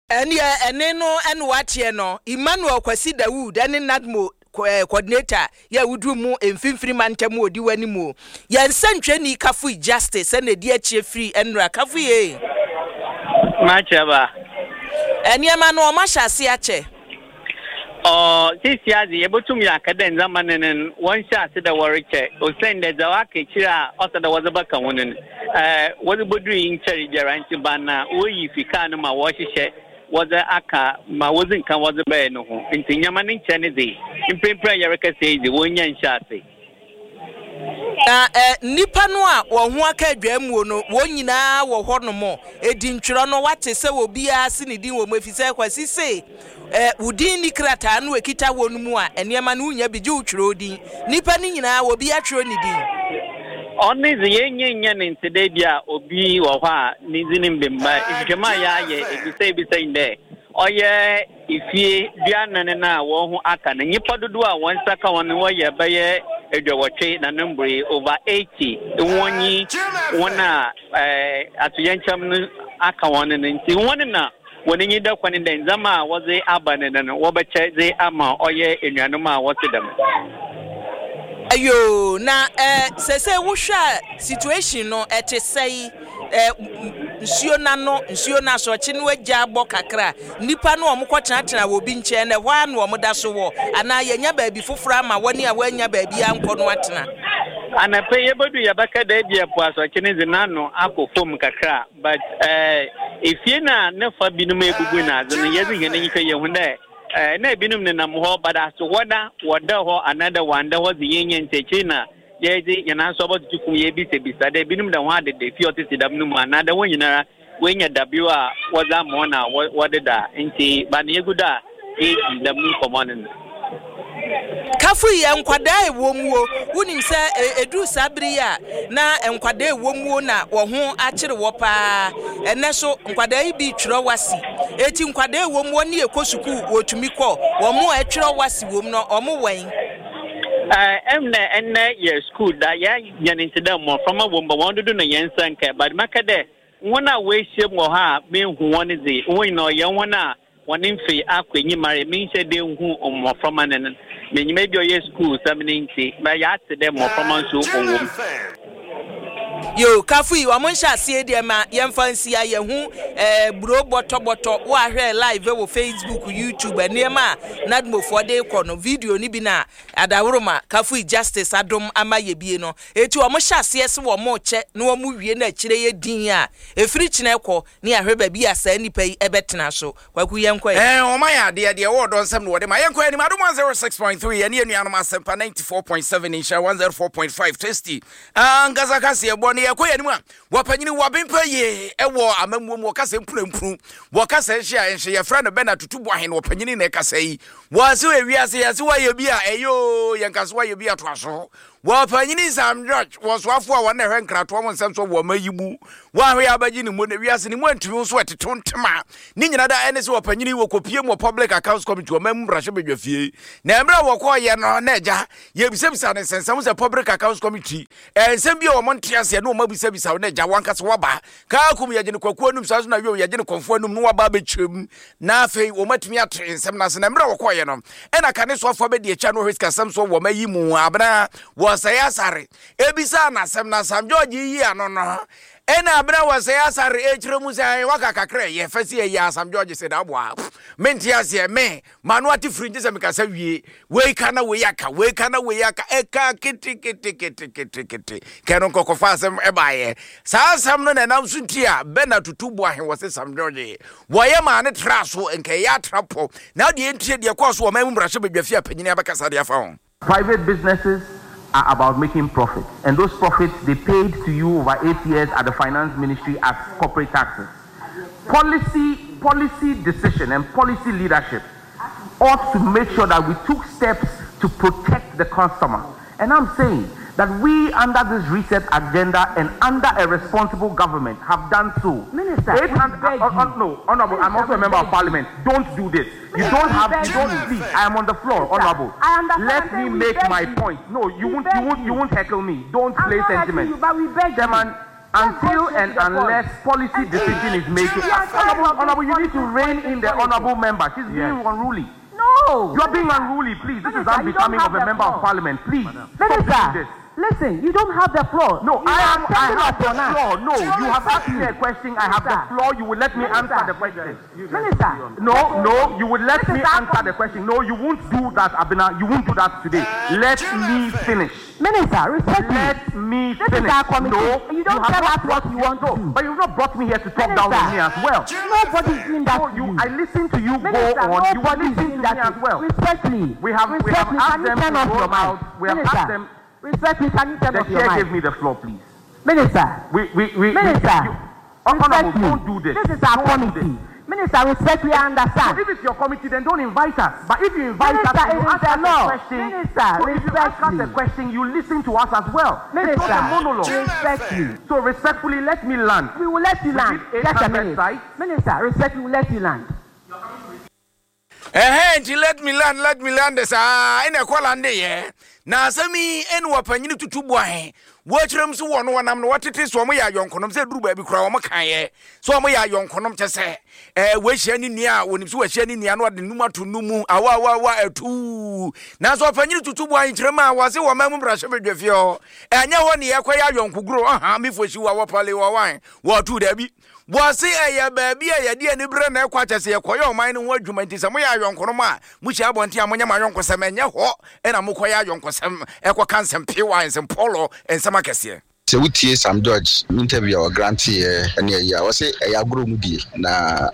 Ɛneɛ ɛne no ɛne wateɛ no, Emmanuel Kwasi Dawood ɛne NADMO coordinator yɛ woduru mu mfimfini mantam wɔ di w'anim o. Yɛn nsɛntwerɛni Kafui Justice ɛna edi akyire firi ɛnura. Kafui ee. Makyɛ ba. Nneɛma no ɔmo ahyɛ ase akyɛ. Ɔ sisi adze yɛbɛtum yɛ aka dɛ ndzɛmba no no wɔnhyɛ ase dɛ wɔrekyɛ, osiane dɛ dza waka akyire a ɔsɛ dɛ wɔdze bɛka ho no no ɛɛ wɔdze bɔduru yi nkyɛre biara, nti ba na wɔyi fi kaa no ma wɔhyehyɛ wɔdze aka ma wɔdze nka wɔdze bɛyɛ no ho. Nti nneɛma no nkyɛn ne dze mprempren a yɛrekasa yi dze wɔnya nhyɛ ase. Na eh, nnipa no a wɔn ho aka adwammuo no, wɔn nyinaa wɔ hɔnom. Edintwerɛ no, woate sɛ obiara se ne din wɔ mu, efisɛ Kwasi se, eh, wo din nni krataa no a ɛkita hɔ no mu a, nneɛma no wonnya bi, gye wotwerɛ wo din. Nnipa no nyinaa, obiara twerɛ ne din. Ɔno dze, yennya nnya ne ntse dɛ bi a obi wɔ hɔ a ne dzin mmbɛmba. Nhwehwɛmu a yɛayɛ ebisabisa nye dɛ, ɔyɛ Efie duanan no a hɔn ho aka no, nyimpa dodow a hɔn nsa ka hɔn no wɔyɛ bɛyɛ eduowɔtwe na no mboree, over eighty, hɔn nye hɔn a atoyerɛnkyɛm no aka hɔn no ntsi hɔn na hɔn enyi da kwan dɛ ndzɛmba a wɔdze aba no no wɔbɛkyɛ dze ama ɔyɛ enuanom a wɔtse dɛm. Ayoo na eh sesei wohwɛ a situation no ɛte sɛi eh nsuo no ano nsuo no asorɔkye no agya abɔ kakra nnipa no wɔn kɔ tenatena wɔ obi nkyɛn na ɛhɔ ara na wɔn da so wɔ anaa yɛanya baabi foforɔ ama wɔne a wɔannya baabi ankɔ no atena. Anapa yi yɛbɛdu yɛbɛka dɛ ebia po asorɔkye no dze n'ano akɔ famu kakra but eh efie no a ne fa binom ebubu na adze no yɛdze hɛn enyi hwɛ yehu dɛ Nna binom nenam hɔ, but aso hɔ na wɔda hɔ anaadɛ wɔannda hɔ dze yennya ntsi ekyir na yɛdze hɛn aso abɔtoto famu yebisabisa dɛ binom da hɔn adeda fie a ɔtsetse dɛm no mu anaadɛ hɔn nyinara woenya dabew a wɔdze ama hɔn a wɔdeda ntsi ba na yegu do a yeedzi dɛm nkɔmbɔ no no. Kafo yi, nkwadaa a ɛwɔ muo, wonim sɛ ɛduru saa bere yi a na nkwadaa a ɛwɔ muo na wɔn ho akyere wɔ paa. Ɛnɛ so nkwadaa yi bi twerɛ wasi. Eti nkwadaa a ɛwɔ muo ne ɛkɔ sukuu wɔtumi kɔ. Wɔn a ɛtwerɛ wasi wɔm no, wɔn wɛn. Ɛm na ɛnɛ yɛ sukuu da, yɛanya ne nti dɛ mmɔframma wɔ mu ba wɔn dodo na yɛn nsa nka. But mɛka dɛ wɔn a wɔahyia mu wɔ hɔ a mehu wɔn dze, wɔn nyinaa ɔyɛ wɔn a hɔn mfe akɔ enyim ara, mennhyɛ da nnhu mboframba no no, minyim bi a ɔyɛ skuulsɛm no ntsi, but yɛatse dɛ mboframba so wɔwɔ mu. Yoo kafo yi ɔmo nhyɛ aseɛ deɛ ma yɛnfa nsia yɛhu eh, buro bɔtɔ bɔtɔ wo ahwɛ live wɔ Facebook YouTube nneɛma a nadmofoɔ de kɔ no video no bi na adaworoma kafo yi justice adom ama yɛ bie no eti ɔmo hyɛ aseɛ se wɔmo kyɛ na wɔmo wie na akyire yɛ din a efiri kyena kɔ ne ahwɛ baabi a saa nipa yi ɛbɛtena so Kwaku yɛnkɔ ɛ. Ɛɛ wɔn ayɛ adeɛ, deɛ ɛwɔ ɔdɔ nsɛm na wɔde ma. Yɛnkɔ anim, Adom one zero six point three, yɛne yɛn nuanom Asɛmpa ninety four point seven, Nhyira one zero four point five, Tasty ankasa kaseɛbɔ no. Yɛkɔ yɛn anim a, wɔpanyini wɔabempa yie ɛwɔ amammuo mu, wɔkasa mpunampu, wɔkasa nhye a nhye, yɛfrɛ no Bernard Tutu Boahen, wɔpanyini na ɛkasa yi. Wɔase ewiase, yɛse wɔayɛ bi a ɛyɛ oo, yɛnka so wɔayɛ bi atoa so. Wɔpanyin Sam George wɔ soafo a wɔn na ɛhwɛ nkratoɔ ho nsɛm so wɔ ɔman yi mu. Wɔahwɛ yɛ abɛgye ne mu na wiase ne mu antumi nso ɛtetew ntema. Ne nyina da ɛne sɛ wɔpanyin yi wɔkɔpie mu wɔ Public Accounts Committee ɔman mu mmarahyɛbadwa fie. Na mmerɛ a wɔkɔɔyɛ no na agya yɛbisabisa ne nsɛnsɛm sɛ Public Accounts Committee nsɛm bi a wɔn nte aseɛ na wɔn abisabisa wo na agya wankasa waba Kaa kum yɛgye no kwaku anum saa nso na yom yɛgye no kɔmfo anum na waba abɛkyerɛ mu na afei wɔn atumi ate nsɛm no ase na mmerɛ a wɔkɔɔyɛ no ɛna kane soafoɔ abɛdi akyi a na ɔhwɛ sikasɛm soɔ wɔ ma yi mu abena wɔsɛe asare ebisaa n'asɛm na Sam George yi ano no ɛna abena wɔsɛe asare ɛkyerɛ mu sɛ waka kakra ɛyɛ fɛ sɛ ɛyɛ Sam George sɛ daboa mente aseɛ me M'ano ate firi gye sɛ mekasa wie. Wei ka na wei aka, wei ka na wei aka, ɛka keteketeketekete. Kɛ no nkɔkɔfa asɛm ɛbaeɛ. Saa asɛm no na ɛnam so nti a Bernard Tutu Boahe wɔ se Sam George wɔyɛ maa ne traa so, nka ɛyɛ atra pɔ. Na deɛ ntie deɛ ɛkɔɔ so wɔ ɔman mu mmarahyɛbadwafie a panyini abɛkasa de afa ho. Private businesses are about making profits, and those profits they paid to you over eight years at the finance ministry as corporate taxes. Policy, policy decision and policy leadership ought to make sure that we took steps to protect the customer. And I'm saying that we, under this reset agenda and under a responsible government, have done so. Minister, Eight hundred, we beg uh, uh, you. no, Honorable, I'm Minister, also a we member of beg you. Parliament. Don't do this. You Minister, don't we have, beg you don't, you. please, I am on the floor, Minister, Honorable. I understand. Let I'm saying me we make beg my you. point. No, you We won't, you beg won't, you you. won't heckle me. Don't I'm play not heckling sentiment. you, but we beg you. Chairman, Let's go until straight and to the point. unless policy And decision is made, we are tired Honorable, of this Honorable, you need to politics, rein in the politics. Honorable member. She's being Yes. unruly. No. You are being unruly, please. This is Minister, you don't unbecoming have of a the member of floor. Parliament. Please, stop doing Minister, this. listen, you don't have the floor. No, You I are am. I setting have up the on us. floor. No, you have asked me a question. I have the Minister. floor. You will let me Minister. answer the question. Minister. No, no, you would let This me is our answer the question. No, you won't do that, Abena. You won't do that today. Let me finish. Minister, respect me. Let me This is finish. our committee. No, You don't have tell not us what brought you want no, to do. But you've not brought me here to talk down on me as well. Nobody's doing that No, to you, you. I listen to you go Minister, on. You will nobody's listen doing to that me to as well. Respectfully. We have, we have Respectfully, asked can you them turn to off roll your mic? out. We have Minister. asked them. Respectfully, can you turn The off your chair mic? gave me the floor, please. Minister. We, we, we, Minister. We, you, Honorable, Respectfully. don't do this. This is our Don't do committee. this. Minister, respectfully, I understand. So if it's your committee, then don't invite us. But if you invite Minister, us, and it you is ask the us law. a question. Minister, so if you ask us a respectfully. question, you listen to us as well. Minister, it's not a monologue. respectfully. So respectfully, let me land. We will let you We land. did Just a eight hundred minute. sites. Minister, respectfully, we will let you land. Ɛhɛn, nti let me land, let me land saa ɛna ɛkɔ land yɛ na asɛm yi ɛne wɔpanyini Tutu Boahe wɔakyerɛ m so wɔ no wɔnam no wɔtete so ɔmo yɛ ayɔnkonom sɛ duru baabi koraa ɔmo kaeɛ so ɔmo yɛ ayɔnkonom kyɛ sɛ ɛɛ wɔahyia ne nua a wɔnim so wɔahyia ne nua no wɔde num ato num mu awa awa awa atuu. Nanso ɔpanyini Tutu Boahe kyerɛ mu a wɔse wɔ ma mu mmarahyɛ badwa fie hɔ, ɛnyɛ hɔ ne yɛkɔyɛ ayɔnkogoro ɔha mefo hyi wɔ wɔpale wɔwan wɔtu daabi. Wɔse ɛyɛ baabi a yɛde ani berɛ na ɛkɔ akyɛ sɛ yɛkɔyɛ ɔman no ho adwuma. Nti sɛ moyɛ ayɔnkonom a mohyia abɔnten a monyɛ mo ayɔnkosɛm, ɛnyɛ hɔ ɛna mokɔyɛ ayɔnkosɛm ɛkɔka nsɛm pewa, nsɛm pɔlɔ, nsɛm akɛseɛ. Sɛ wotie Sam George interview a ɔgranteɛ ne ayi a, wɔsɛ ɛyɛ agorɔ mu die na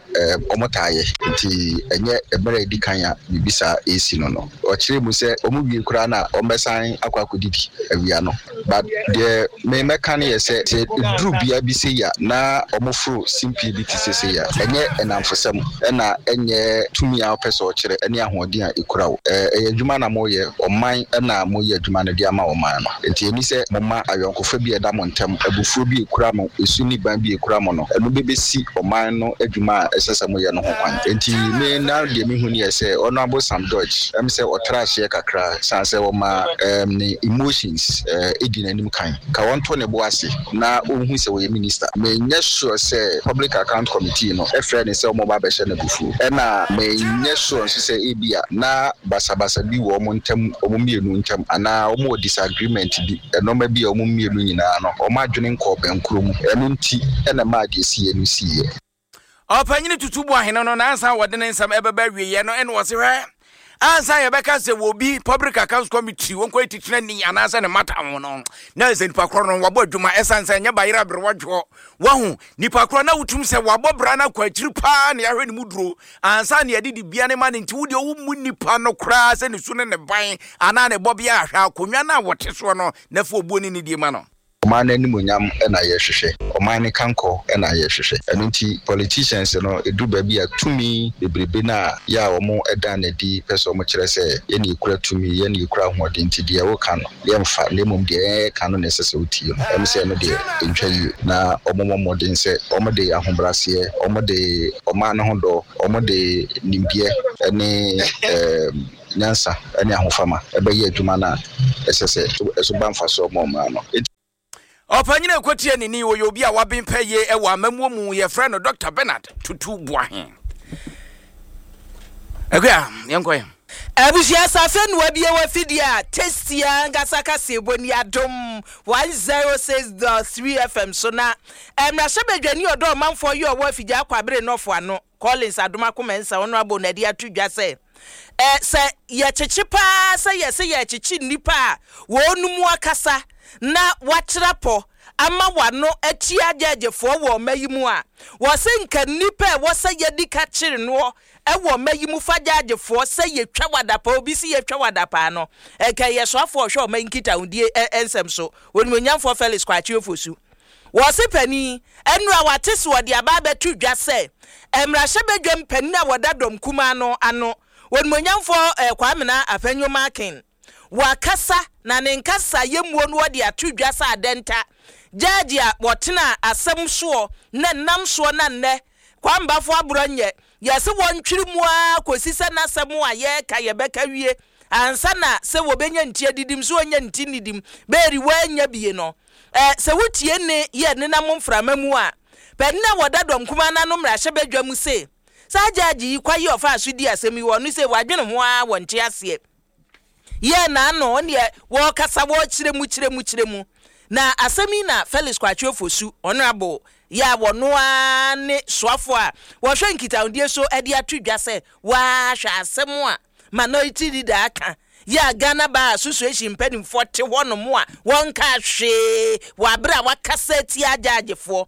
ɔmo taa yɛ, nti ɛnyɛ mmerɛ a ɛdi kan a biribi saa ɛsi no no ɔkyerɛ mu sɛ ɔmo wie koraa na ɔmbɛsan akɔ akɔdidi awia no. But deɛ memɛka no yɛ sɛ sɛ ɛduru bea bi sɛ yi a na ɔmo foro simpie bi te sɛ sɛ yi a, ɛnyɛ ɛnamfosɛm ɛna ɛnyɛ tumi a wopɛ sɛ ɔkyerɛ ɛne ahoɔden a ɛkura wo. Ɛyɛ adwuma na moyɛ, ɔman ɛna moyɛ adwuma no de ama ɔman no, nti ɛni sɛ moma ayɔnkofa bi a ɛda mo ntam, abufuo bi ekura mo, esu ne ban bi ekura mo no, ɛno bɛbɛsi ɔman no adwuma a ɛsɛ sɛ moyɛ no ho kwan. Nti me na deɛ mehu ne yɛ sɛ Honourable Sam George ɛm sɛ ɔtra ahyeɛ kakra san sɛ ɔma ɛm ne emotions ɛɛ edi n'anim kan ka wɔnto ne bo ase na ɔnhu sɛ wɔyɛ minister. Menyɛ sure sɛ Public Account Committee no ɛfrɛ ne sɛ ɔmo ba abɛhyɛ no abufuo, ɛna menyɛ sure nso sɛ ebia na basabasa bi wɔ ɔmo ntam, ɔmo mmienu ntam, anaa ɔmo wɔ disagreement bi, ɛnɔɔma bi a ɔmo mmienu nyinaa no ɔmo adwene nkɔɔ bɛnkoro mu, ɛno nti ɛna maa deɛ siiɛ no siiɛ. Ɔpanyini Tutu Boahene no nansa wɔde ne nsɛm ɛbɛba awieɛ no, ɛne wɔse hwɛ, ansa yɛbɛka sɛ wɔbi Public Accounts Committee wɔnkɔ titena ni anaasɛ ne mata ho no, na sɛ nipa korɔ no wabɔ adwuma, ɛsiane sɛ ɛnyɛ bayerɛ aberewadwoɔ wahu nipa korɔ na wotum sɛ wabɔ bra no akɔ akyiri paa ne yɛahwɛ ne mu duro ansa ne yɛde dibia ne ma no. Nti wodeɛ wommu nipa no koraa sɛ ne su ne ne ban anaa ne bɔbea ahwɛ akonnwa no a wɔte soɔ no na fa obuo ne ne die ma no. Ɔman no animonyam ɛna yɛhwehwɛ, ɔman no kankɔ ɛna yɛhwehwɛ. Ɛno nti politicians no ɛduru baabi a tumi bebrebe no a yɛ a wɔn ɛda n'adi pɛ sɛ wɔn kyerɛ sɛ yɛne yɛkura tumi, yɛne yɛkura ahoɔden, nti deɛ wɔka no yɛmfa, na mmom deɛ yɛka no na ɛsɛ sɛ wotie no. Ɛm sɛ ɛno deɛ ɛntwa yie na wɔn mmɔ mmɔden sɛ wɔn de ahobrɛaseɛ, wɔn de ɔman no ho dɔ, wɔn de nimdeɛ ɛne ɛɛm nyansa ɛne ahofama ɛbɛyɛ adwuma no a ɛsɛ sɛ ɛso ba mfasoɔ ma ɔman no. Ɔpanyini ɛkɔtie ne ni wɔyɛ obi a waben pɛ yie ɛwɔ amammuo mu, yɛfrɛ no Doctor Bernard Tutu Boahe. Akua, yɛnkɔ yɛ. Abusua safe noa bi wɔ afidie a tasty ankasa kaseɛbɔ ni Adom one zero six point three F M so na mmarahyɛbadwani ɔdɔ ɔmanfoɔ yi ɔwɔ Afigya Akwabere nɔfo ano, Collins Adomako Mensah, ɔno abɔ n'adi ato dwa sɛ ɛ sɛ yɛkyekye paa sɛ yɛsɛ yɛkyekye nnipa a wɔn mu akasa na wakyerɛ pɔ ama wano atia gyɛgyefoɔ wɔ ɔma yi mu a, wɔsɛ nka nnipa a ɛwɔ sɛ yɛdi ka kyere noɔ ɛwɔ ɔma yi mu fa gyagyefoɔ sɛ yɛtwa wadapa obi si yɛtwa wadapa no, ɛnka yɛ soafoɔ ɔhwɛ ɔma yi nkitahodie nsɛm so, Onimonyamfoɔ Felix Kwakye Ofosu. Wɔse panin ɛnura wate so wɔde aba abɛto dwa sɛ mmarahyɛbadwam panin a wɔda dɔm kumaa no ano, Onimonyamfoɔ eh, Kwamena Afenyo Markin, wakasa na ne nkasa yɛmuo no wɔde ato dwa sɛ adɛnta gyaagye a wɔtena asɛm soɔ na nam soɔ na nnɛ Kwambafo aborɔ nyɛ yɛsɛ wɔntwere mu ara kɔsi sɛ n'asɛm a yɛreka yɛbɛka wie ansa na sɛ wɔbɛnya nti adidim so wɔnya nti nidim bɛɛri wɔanya bie no. Ɛ sɛ wotie ne yɛ nenam mframa mu a, panin a wɔda dɔm kumaa n'ano mmarahyɛbadwa mu se saa gyaagye yi kwayi ɔfa so di asɛm yi wɔ no sɛ wadwene ho ara wɔnte aseɛ yɛ n'ano ɔneɛ wɔrekasa wɔrekyerɛ mu kyerɛ mu kyerɛ mu. Na asɛm yi na Felix Kwakye Ofosu, Honourable yɛ a wɔno ara ne soafoɔ a wɔhwɛ nkitahodie so de ato dwa sɛ wɔahwɛ asɛm a Minority Leader aka yɛ a Ghana Bar Association mpanimfoɔ te hɔnom a wɔnka hwee wɔ abere a wakasa atia agyaagyefoɔ.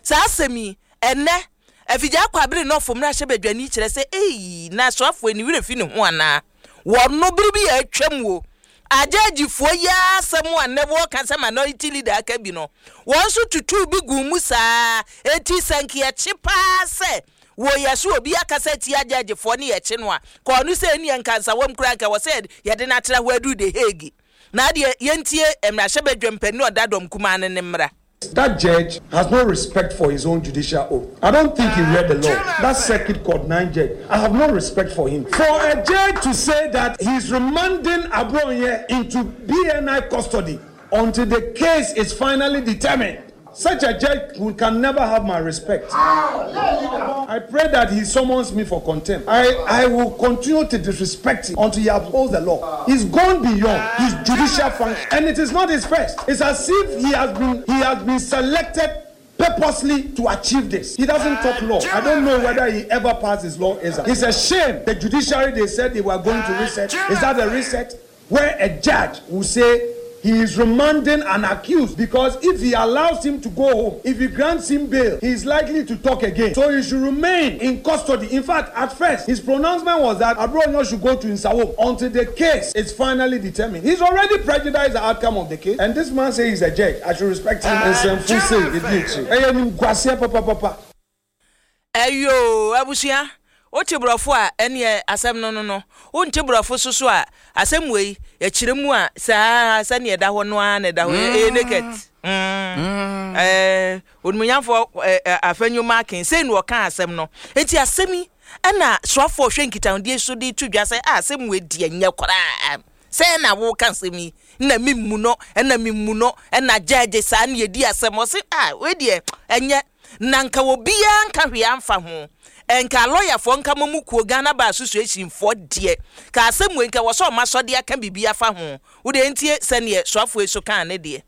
Saa asɛm yi ɛnɛ Afigya Akwabere nɔfo mmarahyɛbadwani kyerɛ sɛ ei, na soafoɔ ani werɛ fi ne ho anaa wɔno bere bi a atwam wo Agyagyifoɔ yi ara asɛm a nnɛ wɔreka sɛ minority leader aka bi no, wɔn nso tutuu bi guu mu saa. Enti sɛ nka yɛkye paa sɛ wɔ yɛ so obi akasa atia agyagyifoɔ ne yɛkye no a, kɔɔ no sɛ ɛnneɛ nka nsawam koraa nka ɛwɔ sɛ yɛde no atra hɔ aduru The Hague. Na adeɛ yɛntie mmarahyɛbadwam panin a ɔda dɔm kumaa no ne mmra. That judge has no respect for his own judicial oath. I don't think he read the law. That circuit court nine judge, I have no respect for him. For a judge to say that he's remanding Abronye into B N I custody until the case is finally determined, such a judge can never have my respect. I pray that he summons me for contempt. I, I will continue to disrespect him until he upholds the law. He's gone beyond his judicial function, and it is not his first. It's as if he has been he has been selected purposely to achieve this. He doesn't talk law. I don't know whether he ever passed his law exam. It's a shame. The judiciary, they said they were going to reset. Is that a reset? Where a judge will say he is remanding an accused because if he allows him to go home, if he grants him bail, he is likely to talk again. So he should remain in custody. In fact, at first, his pronouncement was that Abronye should go to Nsawam until the case is finally determined. He's already prejudiced the outcome of the case. And this man says he's a judge. I should respect him. And some say it. Papa, papa. Ɛyo, abusua, wote borɔfo a, ɛneɛ asɛm no no no wonte borɔfo so so a, asɛm wei yɛkyerɛ mu a, saa sɛneɛ ɛda hɔ no ara na ɛda hɔ. Ɛyɛ naked mm. ɛɛ onimonyamfoɔ ɛɛ Afenyo Markin sei na ɔka asɛm no. Eti asɛm yi ɛna soafoɔ hwɛ nkitahodie so de to dwa sɛ a asɛm wei deɛ nyɛ koraa sɛ na woka asɛm yi na mi mu no ɛna mi mu no ɛna gyɛɛgye saa na yɛdi asɛm. Ɔse a wei deɛ ɛnyɛ na nka obiara nka hwee amfa ho, nka lɔyafoɔ nka mo mu kuo Ghana Bar Association foɔ deɛ ka asɛm wei nka wɔ sɛ ɔma sɔde aka biribi afa ho. Wode ntie sɛneɛ soafoɔ yi so kaa ne deɛ.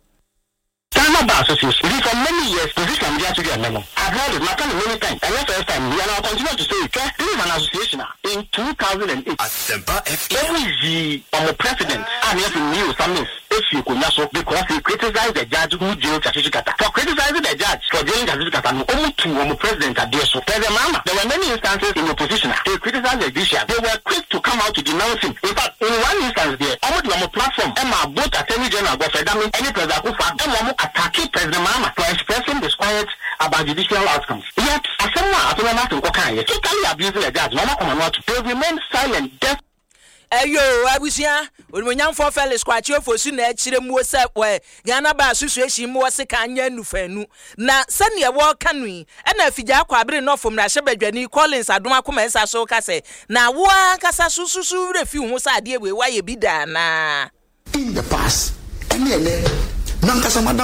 Ghana Bar Association, for many years, position I'm just to I've heard it, my many times, and the first time, and I'll continue to say it. This is an association in two thousand eight. Asempa F M. Every um, president, and yes, Nii Sammis, efi so because he criticized the judge who jailed Tsatsu Tsikata. For criticizing the judge for jailing Tsatsu Tsikata, no, ɔmo tuu ɔmo president adeɛ so. President Mahama, there were many instances in opposition. They criticized the judiciary. They were quick to come out to denounce him. In fact, in one instance there, ɔmo de ɔmo platform, ɛma both Attorney General Godfred Dame and President Akufo, ɛma ɔmo attacking President Mahama for expressing disquiet about judicial outcomes. Yet, asɛm a Afenyo Markin kɔkaeɛ, totally abusing the judge, na ɔmo akɔma no ato. They remain silent, deaf. Ɛyo, abusua, onimonyamfoɔ Felix Kwakye Ofosu na akyerɛ muo sɛ wɔ Ghana Bar Association mu wɔse ka nyɛ nufanu na sɛneɛ wɔreka no yi, ɛna Afigya Kwabre Nɔfo mmarahyɛbadwani Collins Adomako Mensah so ka sɛ na wo ankasa so susu werɛ fi wo ho sɛ adeɛ wei woayɛ bi da anaa? In the past, ɛne ɛnɛ nankasa madam.